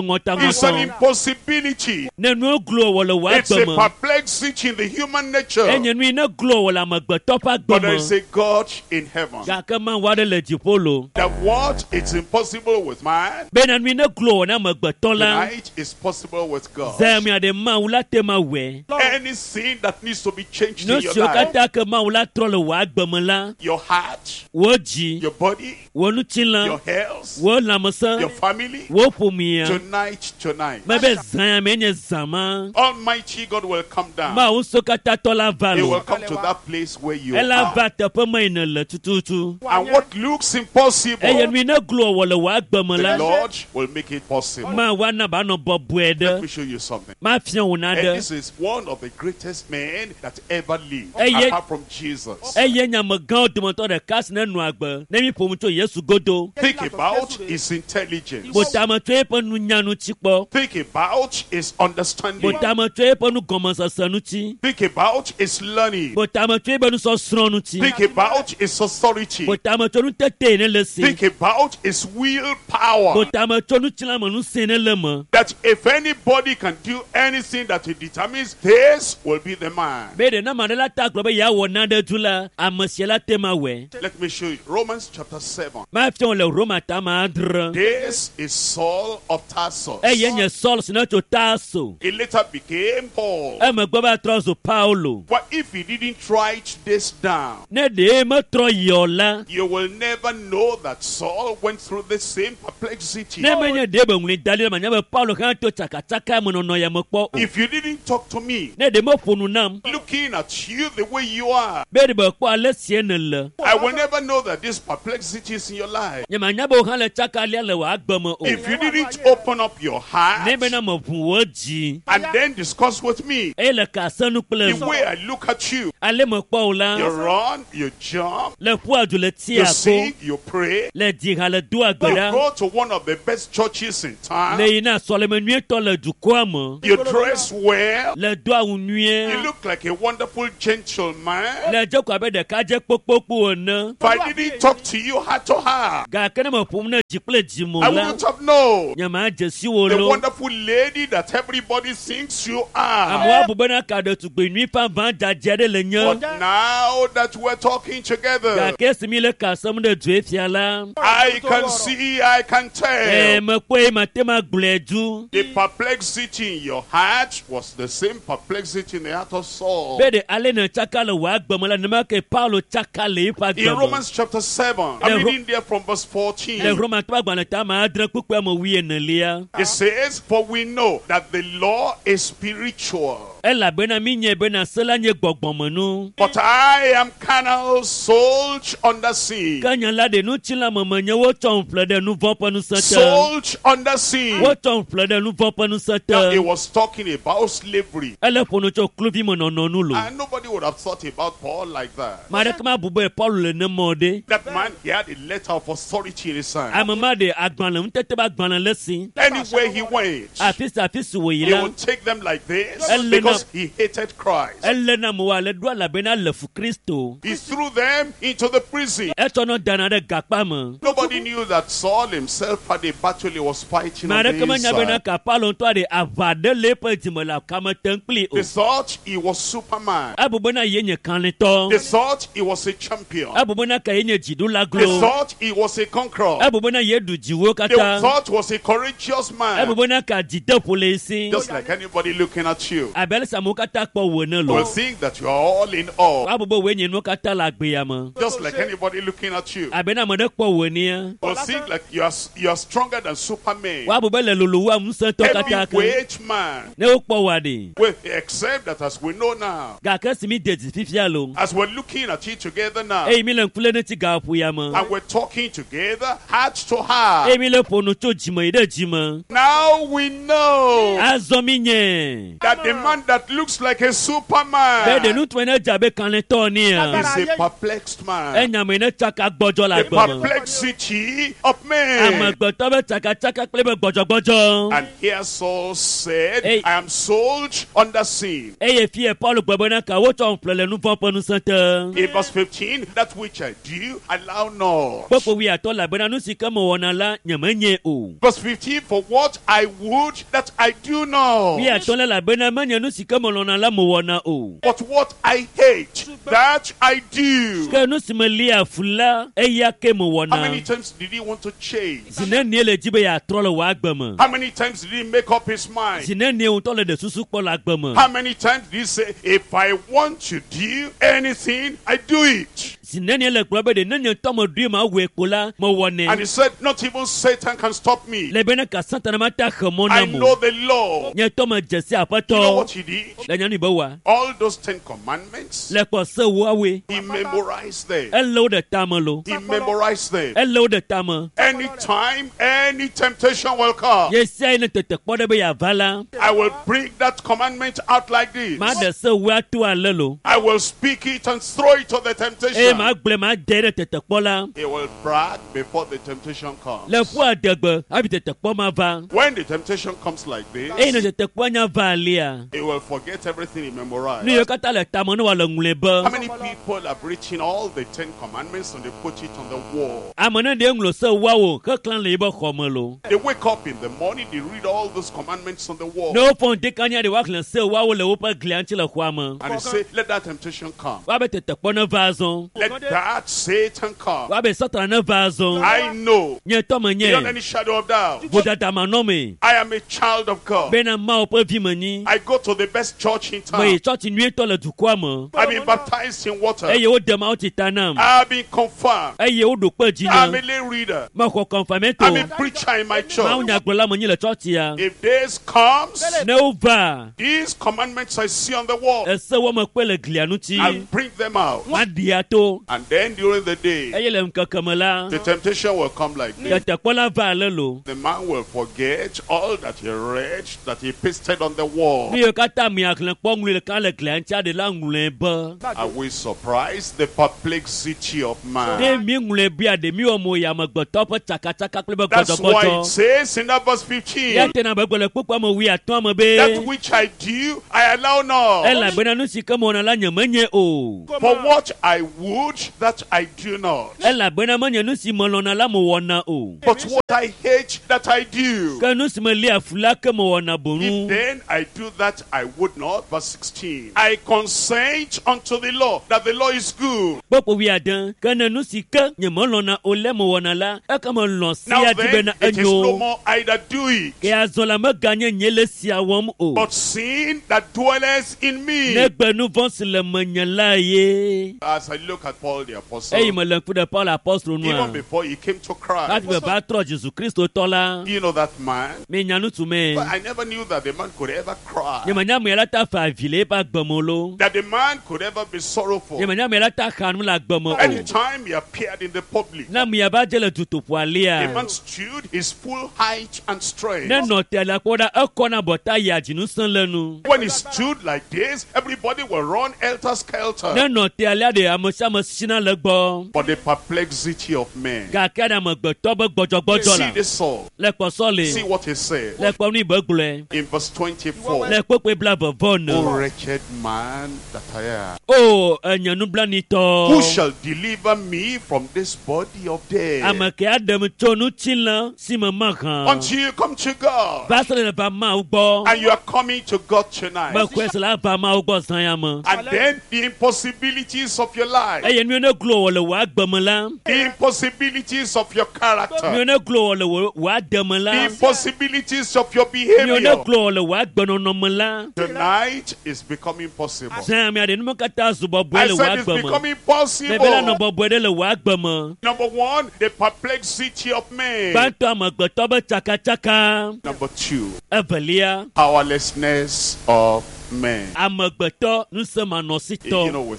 It's an ŋɔtaŋɔtɔ. impossibility. Ne nuwo glo wɔ le wò It's a agbe me, perplexity in the human nature. enye nu yi ne glo wɔ le amegbetɔ ƒe agbe But there me. is a God in heaven. Gake Mawu aɖe le dziƒo lo. That what is impossible with man, Bena nu yi ne glo wɔ na amegbetɔ la, tonight is possible with God. zã mia ɖe Mawu la te ma wɔe. Anything that needs to be changed Nu in your siwo life, katã ke Mawu la trɔ le wò agbe me la, your heart, wò dzi, your body, wò ŋutilã, your health, wò lãmesẽ, your family, wò ƒomea. tonight, tonight, Mebe zã ya mee nye zã ma. Almighty God will come down. Mawu ŋusẽkatãtɔ la va He will lo. come to that place where you Ela are. va teƒe me yi nèle tututu. And what looks impossible, Eye nu yi ne glo wɔ le wò agbe me the la, Lord will make it possible. Mawu ana be anɔ bɔbɔe Let ɖe. me show you something. Mafia wò And naɖe. this is one of the greatest men that ever lived, Eh, apart from Jesus. Eye nye amegãwo dometɔ ɖeka si ne nɔ agbe ne mi ƒo nu tso Yesu godo. Think about his intelligence. Botame tso eƒe nunya ŋuti kpɔ. Think about his understanding. Botame tso eƒe nugɔmesese ŋuti. Think about his learning. Botame tso eƒe nusɔsrɔ̃ ŋuti. Think about his authority. Botame tso nutete yi ne le si. Think about his willpower. Botame tso ŋutilãmenusẽ ne le me. That if anybody can do anything that he determines, this will be the man. Be ɖe na ame aɖe la ta gblɔ be yeawɔ nane du la, ame sia la te ma wɔe. Let me show you. Romans chapter 7. Mafia wò le Roma tame adre. This is Saul of Tarsus. Eye nye Saul si ne tso Tarso. He later became Paul. Emegbe va trɔ zu Paulo. But if he didn't write this down, Ne ɖe metrɔ yi o la, you will never know that Saul went through the same perplexity. ne menye ɖe be ŋlɔe da ɖi la, manya be Paulo hã to tsakatsaka me nɔnɔ ya me kpɔ o. If you didn't talk to me, Ne ɖe meƒo nu nam looking at you the way you are, be ɖe be kpɔ ale sie nèle, I will never know that this perplexity is in your life. nye manya be wò hã le tsakalia le wò agbe me o. If you didn't open up your heart Ne bena meʋu wò dzi and then discuss with me eye le ka se nu kple the way I look at you, ale mekpɔ wò you la, run, you jump, le ƒua du le you tia ko, sing, you pray, le dzi ha le doa gbe you ɖa, go to one of the best churches in town, le yina sɔleme nyuietɔ le dukɔa me, you dress well, le do awu you nyuie, look like a wonderful gentleman. le dze ko abe ɖekadze kpokpokpo ene. If I didn't talk to you heart to heart, Gake ne meƒom ne dzi kple dzi me o I la, wouldn't have known nye madze si wò the lo. wonderful lady that everybody thinks you are. Amewo abu bena ka ɖetugbi nyui vavã dzadzɛ aɖe le nye. But now that we're talking together, Gake esi mi le ka sem ɖe dzoe fia la, I can see, I can ee, tell. mekpɔe mate ma gblɔe du. The perplexity in your heart was the same perplexity in the heart of Saul. Be ɖe ale ne tsaka le wò agbe me la, nenema ke Paulo tsaka le eƒe agbe In me. Romans chapter 7, The I'm Ro- reading there from verse Le 14. Romatɔ agbalẽ ta ame adre kpukpui ame wuienelia. It says, For we know that the law is spiritual, Elabena mi nye bena se la nye gbɔgbɔmenu. but I am carnal, sold under sin. Ke nye la ɖe ŋutilãmeme nye wotsɔm ƒle ɖe nu vɔ̃ ƒe ŋusẽ te. Sold under sin. Wotsɔm ƒle ɖe nu vɔ̃ ƒe ŋusẽ Now, he te. was talking about slavery. Ele ƒo nu tso kluvimenɔnɔ nu lo. And nobody would have thought about Paul like that. Ame aɖeke mabu be Paulo le nemɔ ɖe. That man, he had a letter of authority in his hand. Ame ma ɖe agbalẽ ŋutete be agbalẽ le si. Anywhere he went, Afi sia afi si wòyi he la, would take them like this Elena- because he hated Christ. ele na amewo ale ɖo elabena le fu Kristo. He threw them into the prison. Etsɔnɔ dana ɖe gakpa me. Nobody knew that Saul himself had a battle he was fighting Ame on aɖeke the menya bena inside. ka Paulo ŋutɔ ɖe aʋa ɖe le eƒe dzime le kame tem kpli o. They thought he was Superman. Ebu bena ye nye kalẽtɔ. They thought he was a champion. Ebu bena ka ye nye dziɖula They glo. thought he was a conqueror. Ebu bena ye ɖu dziwo They katã. thought he was a courageous Ebu man. bena ka dzideƒo le esi. Just like anybody looking at you Abe ale si amewo katã kpɔ wò ene will lo. think that you are all in all. Woabu be wòe nye nuwo katã le agbea me. Just like anybody looking at you Abe ne ame ɖe kpɔ wò enea. will think like you are stronger than Superman. Woabu be le lolo wu ŋusẽtɔ katã ke. Heavyweight man. Ne wokpɔ wòa ɖe. Well, except that as we know now, Gake esi mi de dzi fifia lo. as we're looking at it together now, Eye mi le ŋku lé ɖe ŋuti gaƒoƒo ya me. and we're talking together heart to heart. Eye mi le ƒo nu tso dzime yi ɖe dzime. Now we know Azɔ mi nye. that the man that looks like a Be ɖe Superman ŋutsu ne dze abe kalẽtɔ nea. is a perplexed man. Enya me ne tsaka gbɔdzɔ le The agbe me. perplexity of man. Amegbetɔ be tsakatsaka kple be gbɔdzɔgbɔdzɔ. And here Saul said, Hey. I am sold under sin. Eye fie Paulo gblɔ bena ka wotsɔ ƒle le nu vɔ̃ ƒe ŋusẽ te. In verse 15, that which I do, allow not. Kpekpe wuiatɔ̃ elabena nu si ke mewɔna la nye menye o. Verse 15, for what I would, that I do not. Wuiatɔ̃ la elabena menye nu si ke melɔ̃na la mewɔna o. But what I hate, that I do. Ke nu si melia fu la eya ke How many mewɔna. times did he want to change? Zi nenie le dzi be yeatrɔ le wò agbe me. How many times did he make up his mind? Zi nenie ŋutɔ le ɖe susu kpɔ le agbe me. How many times did he say, if I want to do anything, I do it? Zi nenie le gblɔ be ɖe ne nye ŋutɔ meɖoe mawɔe ko la mewɔnɛ. And he said, not even Satan can stop me. Le bena ka Satana mate axe mɔ I nam know o. the law. Nye ŋutɔ medze si You know aƒetɔ. what he did? Le nyɔnu be wa. All those 10 commandments, Le kpɔ se woawoe. he memorized them. Ele wo ɖe tame lo. He memorized them. Ele wo ɖe tame. Anytime, any temptation will come, Ye sia yi ne tetekpɔ ɖe be yeava la, I will bring that commandment out like this. maɖe se woe ato ale lo. I will speak it and throw it to the Eye temptation. magblɔe made ɖe tetekpɔ la. He will brag before the temptation comes. Le ƒu adegbe hafi tetekpɔ ma va. When the temptation comes like Eye ne this, tetekpɔa nya va alia, he will will forget everything he memorized. Nu yiwo katã le tame ne wòale ŋlɔe How be. many people have written all the Ten Commandments and they put it on the wall? Ame ne ɖe ŋlɔ se woawo heklã le yibe xɔme lo. They wake up in the morning, they read all those commandments on the wall. Ne wofɔ ŋdekanya ɖe woaxlẽ se woawo le woƒe glia ŋuti le xɔa me. And they say, let that temptation come. Woabe tetekpɔ ne va azɔ. Let that Satan come. Woabe Satana ne va azɔ. I know, Nye tɔ menye beyond any shadow of doubt, vodada manɔmee I am a child of God. bena Mawu ƒe vi menyi. I go to the best church in Meyi town. tsɔtsi nyuietɔ le dukɔa me I've been baptized in water. eye wode Mawu tsi ta nam I've been confirmed. eye woɖo kpe dzi I'm nam. a lay reader. Mexɔ I'm a kɔnfamɛto. preacher in my Mawu church. nyagblɔla menyi le tsɔtsia. If this comes, Ne wova these commandments I see on the wall, ese wɔme kpe le glia ŋuti I'll bring them out. maɖia to And then during the day, eye le ŋkeke me la the temptation will come like this. tetekpɔ la va ale lo. The man will forget all that he read, that he pasted on the wall. Nu yiwo katã miaxlẽ kpɔ ŋlɔe ɖeka le glia ŋuti aɖe la ŋlɔe be. Are we surprised? The perplexity of Ɖe man. mi ŋlɔe bia ɖe mi wɔ mo yi amegbetɔ ƒe tsakatsaka kple be That's why it gbɔdzɔgbɔdzɔ. says in that verse 15, Ya tena be gblɔ le kpukpua me wuiatɔ̃ me be that which I do, I allow not. elabena nu si ke mewɔna la nye menye o. For what I would, that I do not. Elabena menye nu si melɔ̃na la mewɔna o. But what I hate, that I do. Ke nu si melia fu la ke mewɔna If boŋu. then I do that I would not, verse 16, I consent unto the law, that the law is good. Kpukpui wuiade ke ne nu si ke nye melɔ̃na o le mewɔna la eke melɔ̃ Now sia di then, bena it is no enyo. more I that do it, Ke azɔ la meganye nye le sia wɔm o. but sin that dwelleth in me. Negbe nu vɔ̃ si le menye la ye. As I look at Paul the apostle, Eyi mele ŋku ɖe Paul apostolo even nua. before he came to Hafi Christ, be va trɔ Jesu Kristo tɔ la, you know that man? minya ŋutsu me. But I never knew that the man could ever cry, Nye menya ame la ta fa avi le eƒe agbe me o lo. that the man could ever be sorrowful. Nye menya ame la ta xa nu le agbe me o. Anytime he appeared in the public, Ne amea va dze le dutoƒo the alia, man stood his full height and strength. ne nɔ te la kpɔ ɖa, ekɔna bɔta yia dzinusẽ le nu. When he stood like this, everybody will run helter skelter. Ne nɔ te alea ɖe ame sia ame sina le gbɔ. But the perplexity of men. Gake ɖe amegbetɔ be gbɔdzɔgbɔdzɔ See la, this Saul. le kpɔsɔ See le, what he said le kpɔ nu yi be gblɔe, in verse 24. le kpekpe bla vevɔ ne. O wretched man that I am. O enye Who nublanitɔ. shall deliver me from this body of death? Ame ke aɖem tso ŋutilã si me mahã. Until you come to God. Va se ɖe va Mawu gbɔ. And you are coming to God tonight. Mexɔe se la va Mawu gbɔ zã ya me. And then the impossibilities of your life, Eye nu yiwo ne glo wɔ le wò agbe me la, the impossibilities of your nu character, yiwo ne glo wɔ le wò wò ade me the la, impossibilities of your nu yiwo ne behavior. glo wɔ le wò agbenɔnɔ me la, Tonight is becoming possible. zã ya mea ɖe nume katã zu bɔbɔe I le wò said it's agbe me. becoming Mebe la nɔ possible. bɔbɔe ɖe le wò agbe me. Number one, the perplexity of men. Gbãtɔ amegbetɔ be tsakatsaka. Number two, Evelia, powerlessness of men. amegbetɔ You ŋusẽmanɔsitɔ. know, we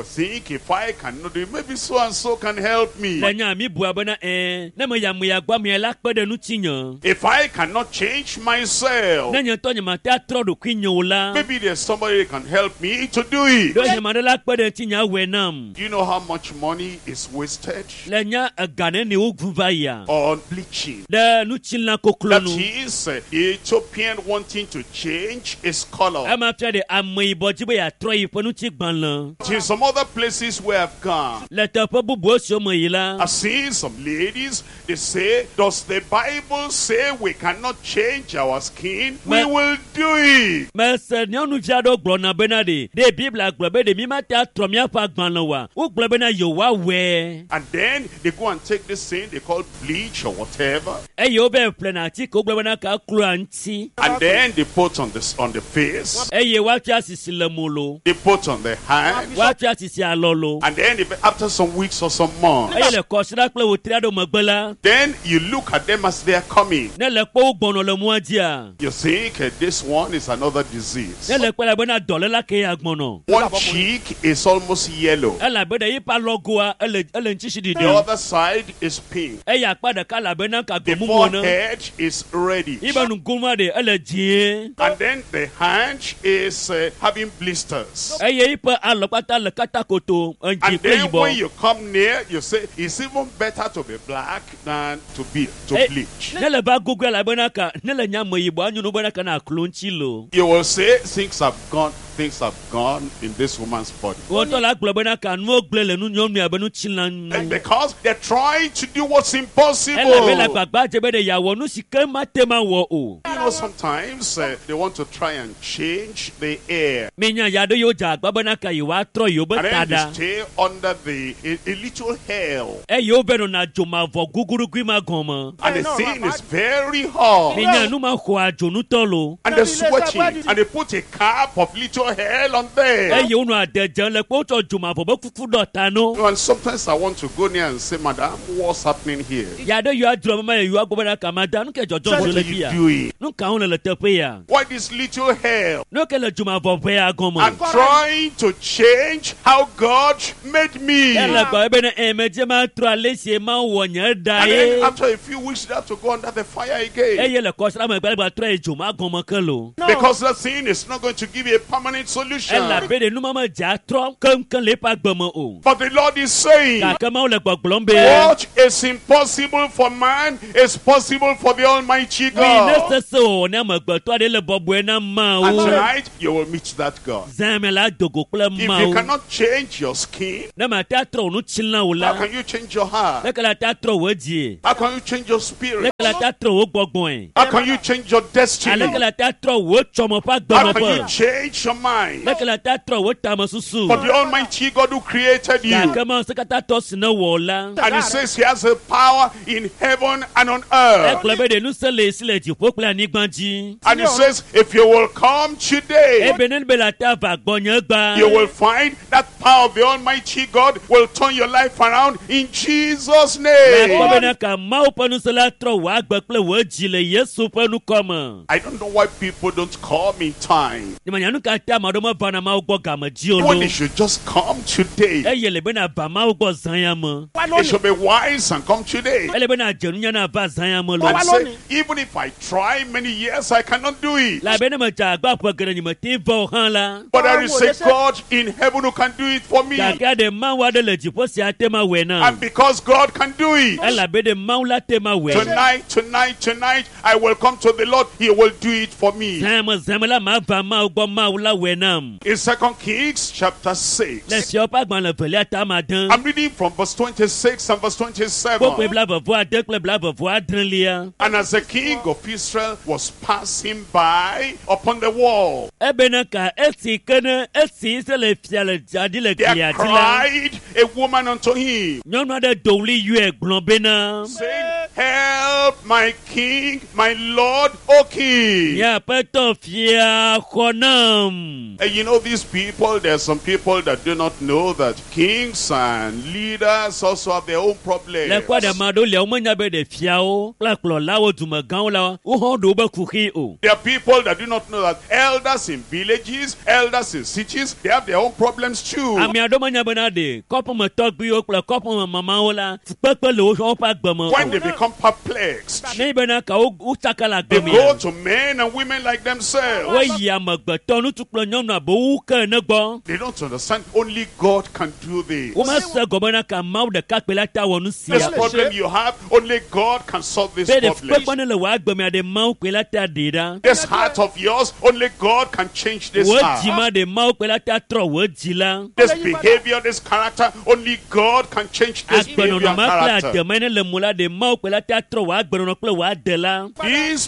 think if I cannot do it, maybe so and so can help me. Le nya mi bua bena ɛɛ, ne meyi ame ya gbɔ amea la kpe ɖe ŋutinye. If I cannot change myself, Ne nye ŋutɔ nye mate atrɔ ɖokuinye o la, maybe there's somebody that can help me to do it. ɖewohĩ ame aɖe la kpe ɖe ŋutinye awɔe nam. Do you know how much money is wasted Le nya ega neni wogu va yia on bleaching? ɖe ŋutilã koklo That nu. is the Ethiopian wanting to change his color. Ema fia ɖe ameyibɔ dzi be yeatrɔ yi ƒe ŋutigbalẽ. In some other places where I've gone, Le teƒe bubuwo siwo me yi la, I've seen some ladies, they say, does the Bible say we cannot change our skin? We will do it. mese nyɔnuvi aɖewo gblɔna bena ɖe ɖe Biblia gblɔ be ɖe mi mate atrɔ míaƒe agbalẽ oa? Wogblɔ bena yewoawɔe. And then they go and take this thing they call bleach or whatever. Eye wova ƒlena atike wogblɔ bena ka kloa ŋuti. And then they put on this on the face, Eye woatsi asisi le mo lo. they put on the hand, Woatsi asisi alɔ lo. and then if, after some weeks or some months, Eye le kɔsiɖa kple wòtri aɖewo megbe la, then you look at them as they are coming. ne le kpɔ wo gbɔnɔ le mɔa dzia, You think this one is another disease. ne le kpɔ la bena dɔléla ke ya gbɔnɔ. One cheek is almost yellow. Elabe ɖe yiƒe alɔgoa ele ele ŋutisi The ɖiɖim. other side is pink. Eye akpa ɖeka le abe na The gbemumu ene. forehead is reddish. Yibe nugonua ɖe ele dzĩe. And then the hand is having blisters. Eye yiƒe alɔ kpata le katakoto edzi And kple then when yibɔ. you come near, you say, it's even better to be black than to be to bleach. Ne le va gogoe elabena ka ne le nya me yibɔ anyo nu bena ka na klo ŋuti lo. You will say, things have gone in this woman's body. Wɔtɔ la gblɔ bena ka nuwo gblẽ le nu nyɔnu abe ŋutilã And ŋu. because they're trying to do what's impossible. Elabe le agbagba dze be ɖe yeawɔ nu si ke mate ma wɔ o. You know, sometimes they want to try and change the air. Minya ya ɖe yewo dze agba bena ka yewoatrɔ yewo be And ta then they ɖa. stay under a little hell. Eye wo be nɔna dzomavɔ gugurugui ma gɔme. And the thing is very hot. Minya nu ma xɔa dzo ŋutɔ lo. And they're sweating. And they put a cap of little hell on there. Eye wonɔ ade dzem le kpe wotsɔ dzomavɔ be kuku ɖɔ ta no. And sometimes I want to go near and say, Madam, what's happening here? Ya ɖe yewoa dzro mama ye yewoa gbɔ bena ka ma da nu ke dzɔdzɔ What dzo are le you fia. doing? Nu ka wo le le teƒe ya? Why this little hell? Nu ke le dzomavɔ ʋea gɔme. I'm trying to change how God made me. Ele And gblɔ bena medze ma trɔ ale si ma wɔ nye ɖa then ye. after a few weeks, they have to go under the fire again. Eye le kɔsra megbe gba trɔ yi dzo ma gɔme ke lo. Because that sin is not going to give you a permanent solution. Elabe ɖe numa me dze atrɔ keŋkeŋ le eƒe agbe me o. But the Lord is saying, Gake Mawu le gbɔgblɔm be. what is impossible for man is possible for the Almighty Mi ne God. sese wòwɔ ne amegbetɔ aɖe le bɔbɔe na And Mawu. tonight, you will meet that God. Zã me la dogo kple If you Mawu. cannot change your skin, Ne mate atrɔ wò ŋutilã o how la, can you change your heart? leke la te atrɔ wò dzie? How can you change your spirit? Leke la te atrɔ wò gbɔgbɔe? How can you change your destiny? Aleke la te atrɔ wò tsɔme ƒe How agbenɔƒe? can you change your mind? Leke la te atrɔ wò tamesusu? But the Almighty God who created you, Gake Mawu sekatãtɔ si ne wɔ la, and He says He has a power in heaven and on earth. egblɔ be ɖe ŋusẽ le esi le dziƒo kple anyigba dzi. And He says, if you will come today, Ebe ne be la te ava gbɔnye gba. you will find that power of the Almighty God will turn your life around in Jesus' Akpɔ name. bena ka Mawu ƒe ŋusẽ la trɔ wò agbe kple wò dzi le Yesu ƒe ŋkɔ me. I don't know why people don't come in time. Nyemenya nu ka ta ame aɖewo mevana Mawu gbɔ game dzi o When lo. they should just come today. Eye le bena va Mawu gbɔ zã ya me. They should be wise and come today. Ele bena dze nunya na va zã ya me lo. And say, even if I try many years, I cannot do it. Le abe ne medze agba ƒe geɖe nye mete va o hã la. But there is a God in heaven who can do it for me. Gake ɖe Mawu aɖe le dziƒo sia te ma wɔe na. And because God can do it, Elabe ɖe Mawu la te ma wɔe. tonight, tonight, tonight, I will come to the Lord. He will do it for me. Zã me zã me la ma va Mawu gbɔ Mawu la wɔe nam. In 2 Kings chapter 6, Le fiawo ƒe agbalẽ evelia ta ma de. I'm reading from verse 26 and verse Kpokpoe 27. blaeve-vɔ-ade kple blaeve-vɔ-adrelia. And as the king of Israel was passing by upon the wall, Ebena ka esi ke ne esi se le fia le dzadi le there glia dzi la. cried a woman unto him, Nyɔnu aɖe do ɣli yɔe gblɔ bena. saying, Help my king, my lord, O king. Nye aƒetɔ fia xɔ nam. And you know, these people, there are some people that do not know that kings and leaders also have their own problems. Le kpɔ ɖe ame aɖewo lia womenya be ɖe fiawo kple kplɔlawo dumegãwo la wohã ɖo wobe kuxi o. There are people that do not know that elders in villages, elders in cities, they have their own problems too. Ame aɖewo menya bena ɖe kɔƒemetɔgbuiwo kple kɔƒememamawo la fukpekpe le woƒe agbe me When o. they become perplexed, Ne bena ka wotsaka le they agbe go mea. to men and women like themselves. Woyi amegbetɔ ŋutsu kple nyɔnu abe wo ke ene gbɔ. They don't understand only God can do this. Womese gɔme na ka Mawu ɖeka kpe la ta wɔ nu This sia. problem you have, only God can solve this Be ɖe problem. fukpekpe ne le wò agbe mea ɖe Mawu kpe la ta ɖee ɖa. This heart of yours, only God can change this Wò heart. dzi ma ɖe Mawu kpe la ta trɔ wò dzi la. This behavior, this character, only God can change this behavior Agbenɔnɔ and ma kple character. ademe ne le mo la ɖe Mawu kpe la ta trɔ wò agbenɔnɔ kple wò ade la. This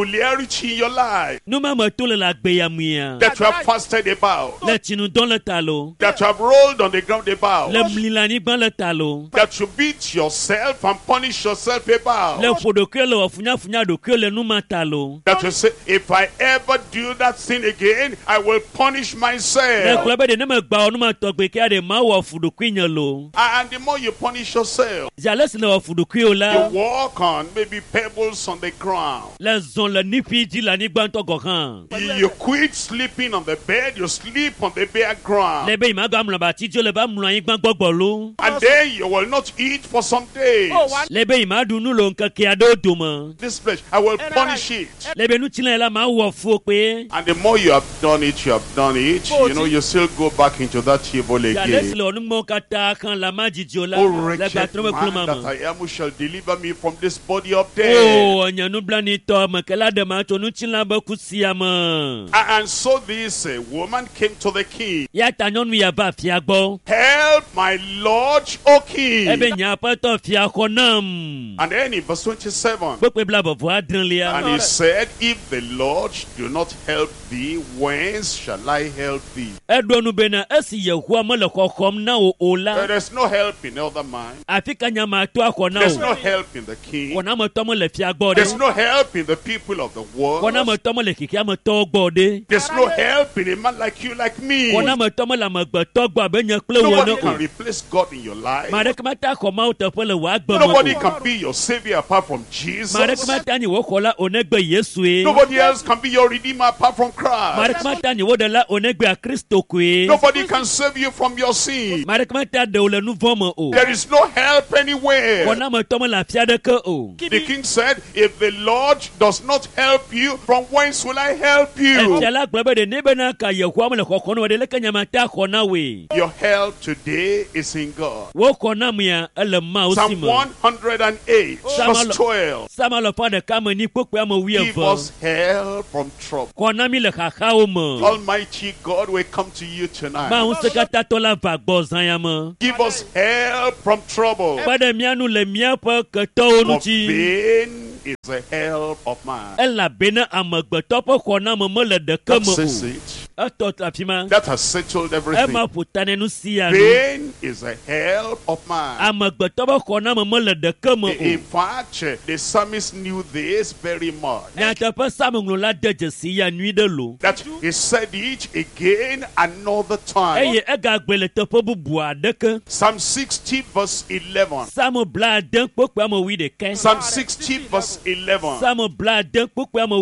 peculiarity in your life Nu ma me to le le agbe ya mea. that you have fasted about, Le tsinudɔ le ta lo. that you have rolled on the ground about, Le mli le anyigba le ta lo. that you beat yourself and punish yourself Le about, ƒo ɖokuiwo le wɔ funyafunya ɖokuiwo le nu ma ta lo. that you say, if I ever do that sin again, I will punish Le myself. gblɔ be ɖe ne megba wɔ nu ma tɔgbe kea ɖe Mawu wɔ fu ɖokuinye lo. And the more you punish yourself, Zi ale si ne wɔ fu ɖokuiwo la. you walk on maybe heavy pebbles on the ground. Le zɔn le niƒi dzi le anyigba ŋutɔ gɔ hã. You quit sleeping on the bed, you sleep on the bare ground. Le be yi ma gba mlɔ abati dzi o le va mlɔ anyigba gbɔgbɔ lo. And then you will not eat for some days. Le be yi ma ɖu nu le ŋkeke aɖewo dome. This flesh, I will punish it. Le be ŋutilã la ma wɔ fu kpe. And the more you have done it, you have done it, you know, you still go back into that evil Ale si again. le wɔnumɔwo katã hã la ma dzidzi o la O le wretched gbatrɔ me kplɔ ma man that me. I am, who shall deliver me from this body of death. O nye nublanitɔ ame ke la ɖe ma tso ŋutilã be ku sia me. And so this woman came to the king. Ya ta nyɔnu ya va fia gbɔ. Help my lord, O king. Ebe nye aƒetɔ fia xɔ nam. And then in verse 27, Kpekpe bla vɔvɔ adrelia. and he said, If the Lord do not help thee, whence shall I help thee? Eɖo nu bena esi Yehowa mele xɔxɔm na wò o la, There is no help in other man. afi ka nya ma to axɔ na There's wò? no help in the king. Xɔnametɔ mele fia gbɔ There's ɖe. no help in the people of the world. Xɔnametɔ mele xexeametɔwo gbɔ ɖe. There's no help in a man like you, like me. Xɔnametɔ mele amegbetɔ gbɔ abe nye kple wò Nobody ene can o. replace God in your life. Ame aɖeke mate axɔ Mawu teƒe le wò agbe me Nobody o. can be your savior apart from Ame aɖeke Jesus. mate anyi wò xɔla o negbe Yesue. Nobody else can be your redeemer apart from Ame Christ. aɖeke mate anyi wò ɖela o negbe Kristo koe. Nobody can save you from your sin. Ame aɖeke mate aɖe wò le nu vɔ̃ me o. There is no help anywhere. Xɔnametɔ mele afi aɖeke o. The king said, If the Lord does not help you, from whence will I help you? Efia la gblɔ be ɖe ne bena ka Yehowa mele xɔxɔm na wò ɖe leke nya mate axɔ na wòe. Your help today is in God. Wò xɔnamea ele Mawu si Psalm me. 108, verse 12. Psalm alafa ɖeka me nyi kpokpoe ame Give wuieve. us help from trouble. Xɔ na mí le xaxawo me. Almighty God will come to you tonight. Mawu ŋusẽkatãtɔ la va gbɔ zã ya me. Give us help from trouble. Kpe ɖe mía nu le míaƒe ketɔwo For ŋuti. vain is the help of man. Elabena amegbetɔ ƒe xɔname mele ɖeke That me says o. it. Etɔ afi ma. That has settled everything. Ema ƒo ta ne nu sia nu. Vain is the help of man. Amegbetɔ ƒe xɔname mele ɖeke me In o. fact, the psalmist knew this very much. Nyateƒe Psalm-ŋlɔla de dzesi ya nyui ɖe lo. That he said it again another time. Eye egagblɔe le teƒe bubu aɖeke. Psalm 60, verse 11. Psalm blaade kpokpoe ame wuiɖekɛ. Psalm 60, verse 11. Psalm blaade kpokpoe ame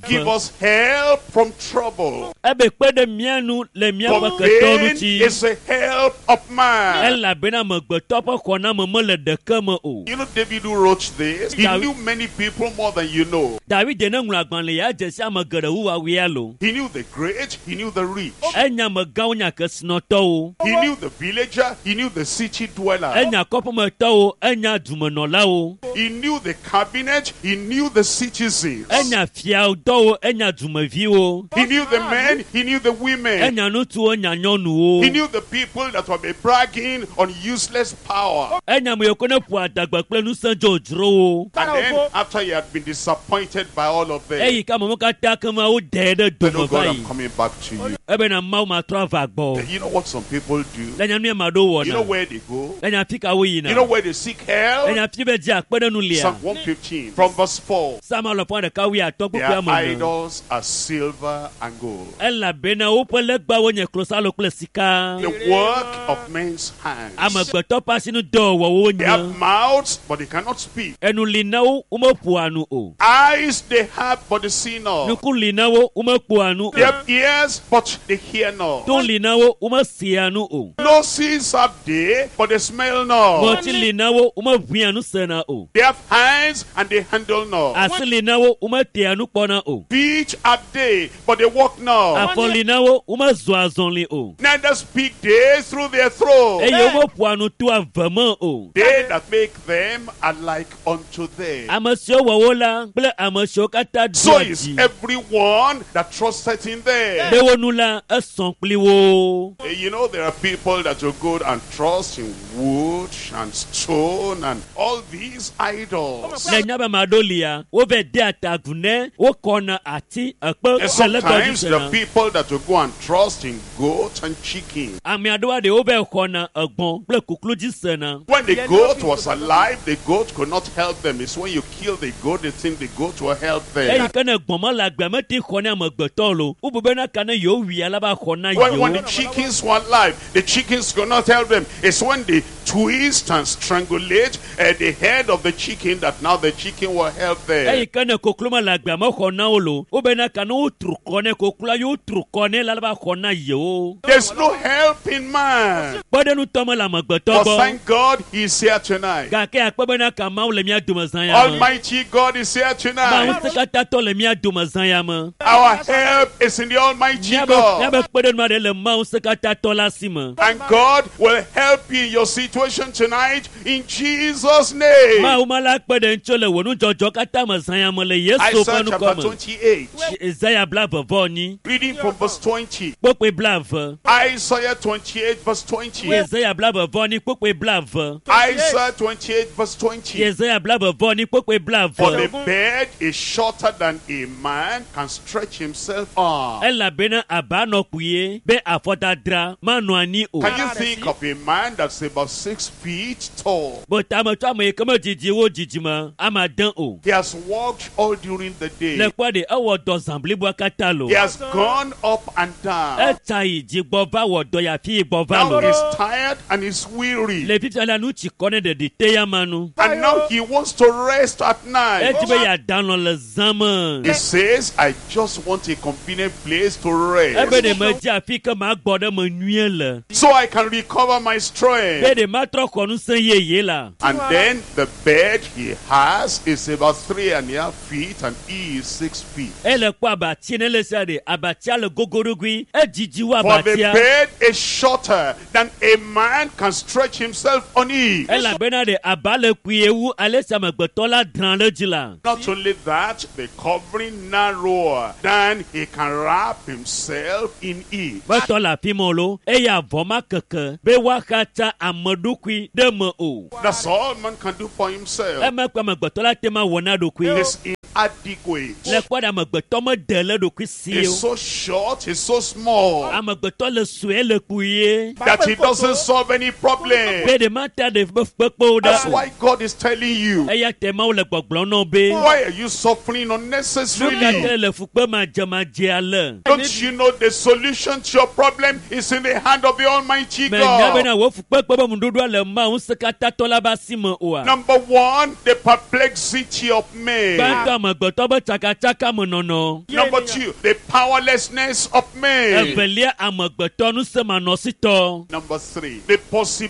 Give wuieve. us help from trouble. Ebe kpe ɖe mía nu le míaƒe For ketɔwo vain ŋuti. is the help of man. Elabena amegbetɔ ƒe xɔname mele ɖeke me o. You know, David who wrote this, he David- knew many people more than you know. David ne ŋlɔ agbalẽ ya dze si ame geɖe wu woawoe lo. He knew the great, he knew the rich. Enya amegãwo nya kesinɔtɔwo. He knew the villager, he knew the city dweller. Enya kɔƒemetɔwo, enya dumenɔlawo. He knew the cabinet, he knew the citizens. Enya fiadɔwo, enya dumeviwo. He knew the men, he knew the women. Enya ŋutsuwo, enya nyɔnuwo. He knew the people that were bragging on useless power. Enya ame yiwo ke ne ƒo adagbe kple ŋusẽ dzodzrowo. And then, after he had been disappointed by all of them, Eyi ke amewo katã ke ma woɖe ɖe said, dome Oh va God, yi. I'm coming back to you. Ebena Mawu matrɔ ava gbɔ. You know what some people do? Le nya nu ya ma ɖewo You know wɔna. where they go? Le nya fi ka woyina. You know where they seek Le help? nya fi be dzi akpe ɖe nu lia. Psalm 115 from verse 4. Psalm alafa ɖeka wuiatɔ̃ kpukpui Their ame ene. idols are silver and gold, Elabena woƒe legbawo nye klosalo kple sika. the work of men's hands. Amegbetɔ ƒe asinudɔwɔwɔwo They have nye. mouths, but they cannot speak. Enu li na wo, womeƒoa nu o. Eyes they have, but they see not. Nuku li na wo, womekpɔa nu They o. have ears, but they hear not. To li na wo, womesea nu o. Noses have they, but they smell not. Ŋɔti li na wo, womeʋĩa nu sena o. They have hands, and they handle not. Asi li na wo, wometea nu kpɔna o. Feet have they, but they walk not. Afɔ li na wo, womezɔa azɔli o. Neither speak they through their throat. Eye womeƒoa nu toa ve me o. They that make them are like unto them. Ame siwo wɔ wo la kple ame siwo katã So doa is dzi everyone that trusteth in them. ɖe wo nu la, esɔ kpli wo. You know, there are people that will go and trust in wood and stone and all these idols. Le nya be ame aɖewo lia, wova dea ta agu ne wokɔna ati, ekpe And kple legbawo dzi sometimes there sena. are people that will go and trust in goat and chicken. Ame aɖewoa ɖe wova xɔna egbɔ̃ kple kuklu dzi sena. When the goat was alive, the goat could not help them. It's when you kill the goat, they think the goat will help Eyi them. ke ne gbɔ̃ mele agbea me te xɔ ne amegbetɔ lo. Wobu bena ka ne yewo wui wowui ala ba xɔ na When the yewo chickens were alive, the chickens could not help them. It's when they twist and strangulate the head of the chicken that now the chicken will help them. Eyi ke ne kokloma le agbea mexɔ na wo lo wobena ka ne wotru kɔ ne kokloa ye wotru kɔ ne la la va xɔ na yewo There's no help in man. kpɔɖenutɔ me le amegbetɔ But gbɔ thank God he's here tonight. gake akpe bena ka mawu le mía dome zã ya me Almighty God is here mawu tonight. ŋusẽkatãtɔ le mía dome zã ya me Our help is in the Almighty míabe God. míabe kpeɖenu aɖe le mawu ŋusẽkatãtɔ la si me And God will help you in your situation tonight in Jesus' name. mawu ma la kpe ɖe ŋutso le wò nudzɔdzɔ katã me zã ya me le yesu ƒe Isaiah ŋkɔ chapter me 28, Yesaya 29 reading from verse 20. kpokpoe 20 Isaiah 28, verse 20. Yesaya 29 kpokpoe 20 Isaiah 28, verse 20. Yesaya 29 kpokpoe For the 20 bed is shorter than a man can stretch himself on. Elabena aba nɔ kpuie be afɔdadra manɔ anyi o Can you think of a man that's about 6 feet tall? Bɔtame tso ame yi ke medidi wo dzidzime ame ade o He has walked all during the le day. kpɔ ɖe ewɔ dɔ zã bliboa katã lo He has gone up and down. Etsa yi dzi gbɔ va wɔ dɔ yi afi yi gbɔ va Now lo he's tired and he's weary. Le fifia la nu tsi kɔ ne ɖeɖi te ya ma nu And now he wants to rest at night. Edi be yeada lɔ le zã me He says, I just want a convenient place to Ebe rest ɖe medzi afi ke magbɔ ɖe me nyuie le so I can recover my be strength. ɖe matrɔ xɔ ŋusẽ yeye la And then the bed he has is about 3.5 feet and he is 6 feet. Ele kpɔ abatsi ne le sia ɖe abatsia le gogoɖogoe edzidzi wu For the abatsia bed is shorter than a man can stretch himself on it. Elabena ɖe aba le kpuie wu ale si amegbetɔ la drã ɖe dzi la Not only that, the covering narrower than he can wrap himself in it. Metɔ le afi ma o lo eye avɔ ma keke be woaxatsa ame ɖokui ɖe me o That's all man can do for himself. Eme kpe amegbetɔ la te ma wɔ na ɖokui It's inadequate. Le kpɔ ɖe amegbetɔ mede le ɖokui si It's o so short, it's so small Amegbetɔ le sue le kpuie that he doesn't solve any problem. Be ɖe mata ɖe ƒe kpekpewo That's ɖa o why God is telling you, Eya te mawu le gbɔgblɔm nɔ be why are you suffering nu ka unnecessarily? te le fukpe madzemadze ale Don't you know the solution to your problem is in the hand of the Almighty Menya God? bena wò fukpekpe be ŋuɖoɖoa le mawu ŋusẽkatãtɔ la be asi me oa Number one, the perplexity of men. Gbãtɔ amegbetɔ be tsakatsaka me nɔnɔ Number two, the powerlessness of men. Evelia amegbetɔ ŋusẽmanɔsitɔ Number three, the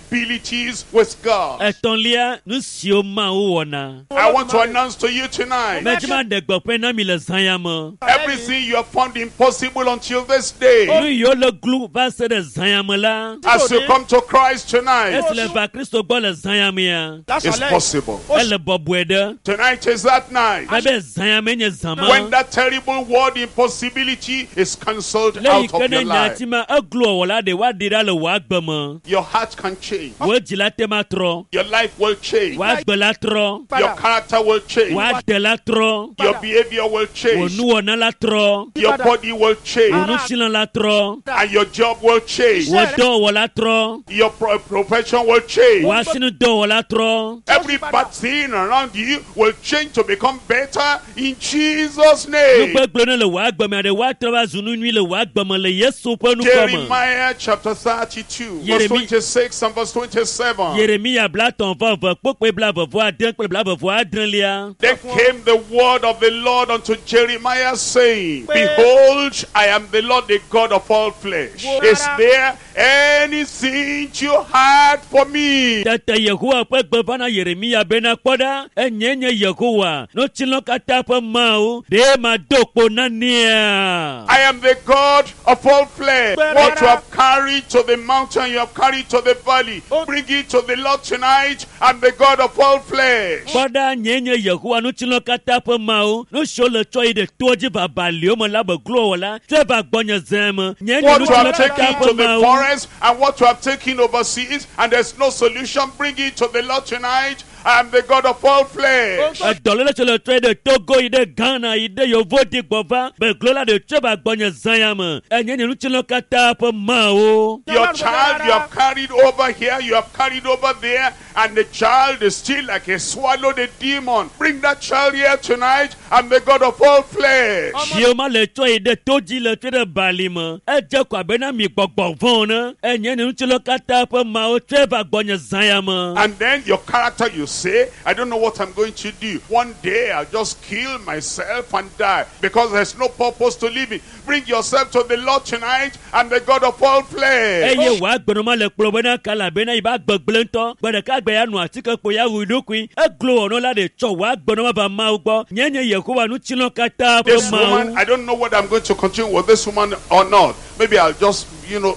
possibilities with God. Etɔ̃lia nu siwo mawu wɔna I want to announce to you tonight Medzi ma ɖe gbeƒe na mi le zã ya me everything you have found impossible until this day. Nu yiwo le glu va se ɖe zã ya me la As you come to Christ tonight, esi le va kristo gbɔ le zã ya mea it's possible. Ele bɔbɔe ɖe Tonight is that night Mebe zã ya me nye zã ma when that terrible word impossibility is cancelled Le yi out ke of ne your life. nyati ma eglo wɔla ɖe woaɖi ɖa le wò agbe me Your heart can change. Wò dzi la te ma trɔ Your life will change. Wò agbe la trɔ Your character will change. Wò ade la trɔ Your behavior will Wò change. nuwɔna la trɔ Your body will Wò change. ŋutilã la trɔ And your job will change. Wò dɔwɔwɔ la trɔ Your profession will change. Wò asinudɔwɔ la trɔ Every bad thing around you will change to become better in Jesus' name. Nugbegblẽ ne le wò agbe me ɖe woatrɔ va zu nu nyui le wò agbe me le yesu ƒe ŋkɔ me Jeremiah chapter 32, verse 26 and verse 27. Yeremiya 32 kpokpoe 26 kple 26lia Then came the word of the Lord unto Jeremiah, saying, Behold, I am the Lord, the God of all flesh. Is there anything too hard for me? Tete yehowa ƒe gbe va na yeremiya bena kpɔ ɖa enye nye yehowa nutsilɔ katã ƒe mawu ɖe mado kpo nanea I am the God of all flesh. What you have carried to the mountain, you have carried to the valley. Bring it to the Lord tonight. I'm the God of all flesh. Kpɔ ɖa nye nye yehowa nutsilɔ katã ƒe mawu nu siwo le tsɔ yi ɖe toa dzi va baliwo me la be glo wɔ la tsɔe va gbɔnye zẽ me nye nye What you nutsilɔ have katã taken ƒe to the mawu forest and what you have taken overseas, and there's no solution, bring it to the Lord tonight. I am the God of all flesh. Edɔléle tso le trɔe ɖe Togo yi ɖe Ghana yi ɖe Yevo di gbɔ va beglo la ɖe tso va gbɔnye zã ya me. Enye nye ŋutilã katã ƒe Mawu. Your child you have carried over here, you have carried over there, and the child is still like he swallowed a demon. Bring that child here tonight. I'm the God of all flesh. Viwo ma le tsɔ yi ɖe to dzi le trɔe ɖe bali me. Edze ko abe na mi gbɔgbɔ vɔ̃ ne. Enye nye ŋutilã katã ƒe Mawu tsɔe va gbɔnye zã ya me. And then your character, you say, I don't know what I'm going to do. One day I'll just kill myself and die because there's no purpose to living. Bring yourself to the Lord tonight. I'm the God of all flesh. Eye wòa gbenɔma le kplɔ bena kala bena yi ba gbegblẽ ŋutɔ. Gbe ɖeka gbe ya nɔ atike kpo ya wui ɖokui. Eglo wɔnɔ la ɖe tsɔ wòa gbenɔma va Mawu gbɔ. Nye nye Yehowa ŋutilã katã ƒe This woman, Mawu. I don't know whether I'm going to continue with this woman or not. Maybe I'll just,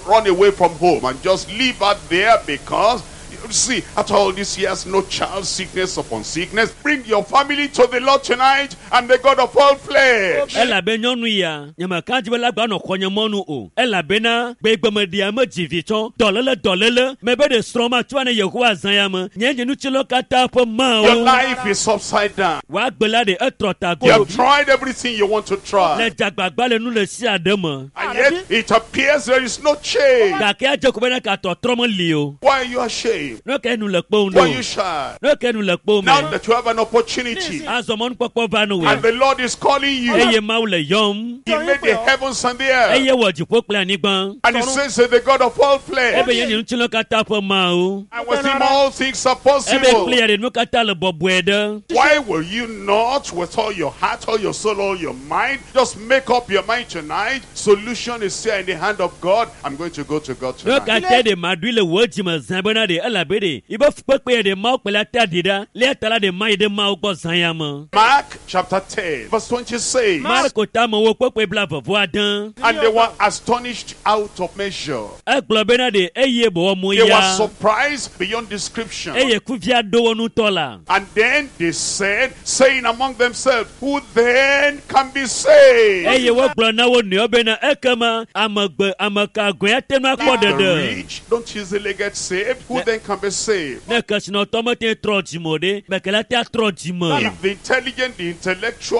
run away from home and just leave her there because, you see, after all these years, no child, sickness upon sickness. Bring your family to the Lord tonight and the God of all flesh. Elabe nyɔnu ya nyemeka dzi be la gba nɔ xɔnye mɔnu o elabena gbegbemeɖia me dzi vi tsɔ dɔléle dɔléle mebe ɖe srɔ̃ ma tso ne Yehowa zã ya me nye nye ŋutilã katã ƒe Your Mawu. life is upside down. Wòa gbe la ɖe etrɔ ta You go have tried everything you want to le try. dzagbagba le nu le sia ɖe me And yet, it appears there is no change. gake adze ko bena katɔtrɔ meli o. Why are you ashamed? Ne ke nu le kpewum Why are you ɖo shy? ne ke nu le kpewum Now me that you have an opportunity azɔ mɔnukpɔkpɔ va nu and wòe the Lord is calling you, eye Mawu le yɔm He made the heavens and the earth. eye wɔ dziƒo kple anyigba And he says that the God of all flesh. ebe nye nye ŋutilã katã ƒe Mawu And with him all things are ebe possible. kple ya ɖe nu katã le bɔbɔe ɖe. Why will you not, with all your heart, all your soul, all your mind, just make up your mind tonight? Solution is here in the hand of God. I'm going to go to God Ne tonight. katã ɖe ma ɖui le wò dzime zã bena ɖe elabe ɖe yibe fukpekpe ya ɖe Mawu kple la ta ɖi ɖa lia ta la ɖe ma yi ɖe Mawu gbɔ zã ya me. Mark chapter 10, verse 26. Marko tamewo kpekpe bla vɔvɔ ade. And they were astonished out of measure. Egblɔ bena ɖe eye bɔwɔ mo They were ya surprised beyond description. eye kuvia ɖo wo ŋutɔ la. And then they said, saying among themselves, Who then can be saved? Eye wogblɔ na wo nɔewo bena ekema amegbe ameka gɔe ate ŋu akpɔ If the ɖeɖe. rich don't easily get saved, who then can be saved? Ne kesinɔtɔ mete trɔ dzime o ɖe, meke la te atrɔ dzime. If the intelligent, the intellectual,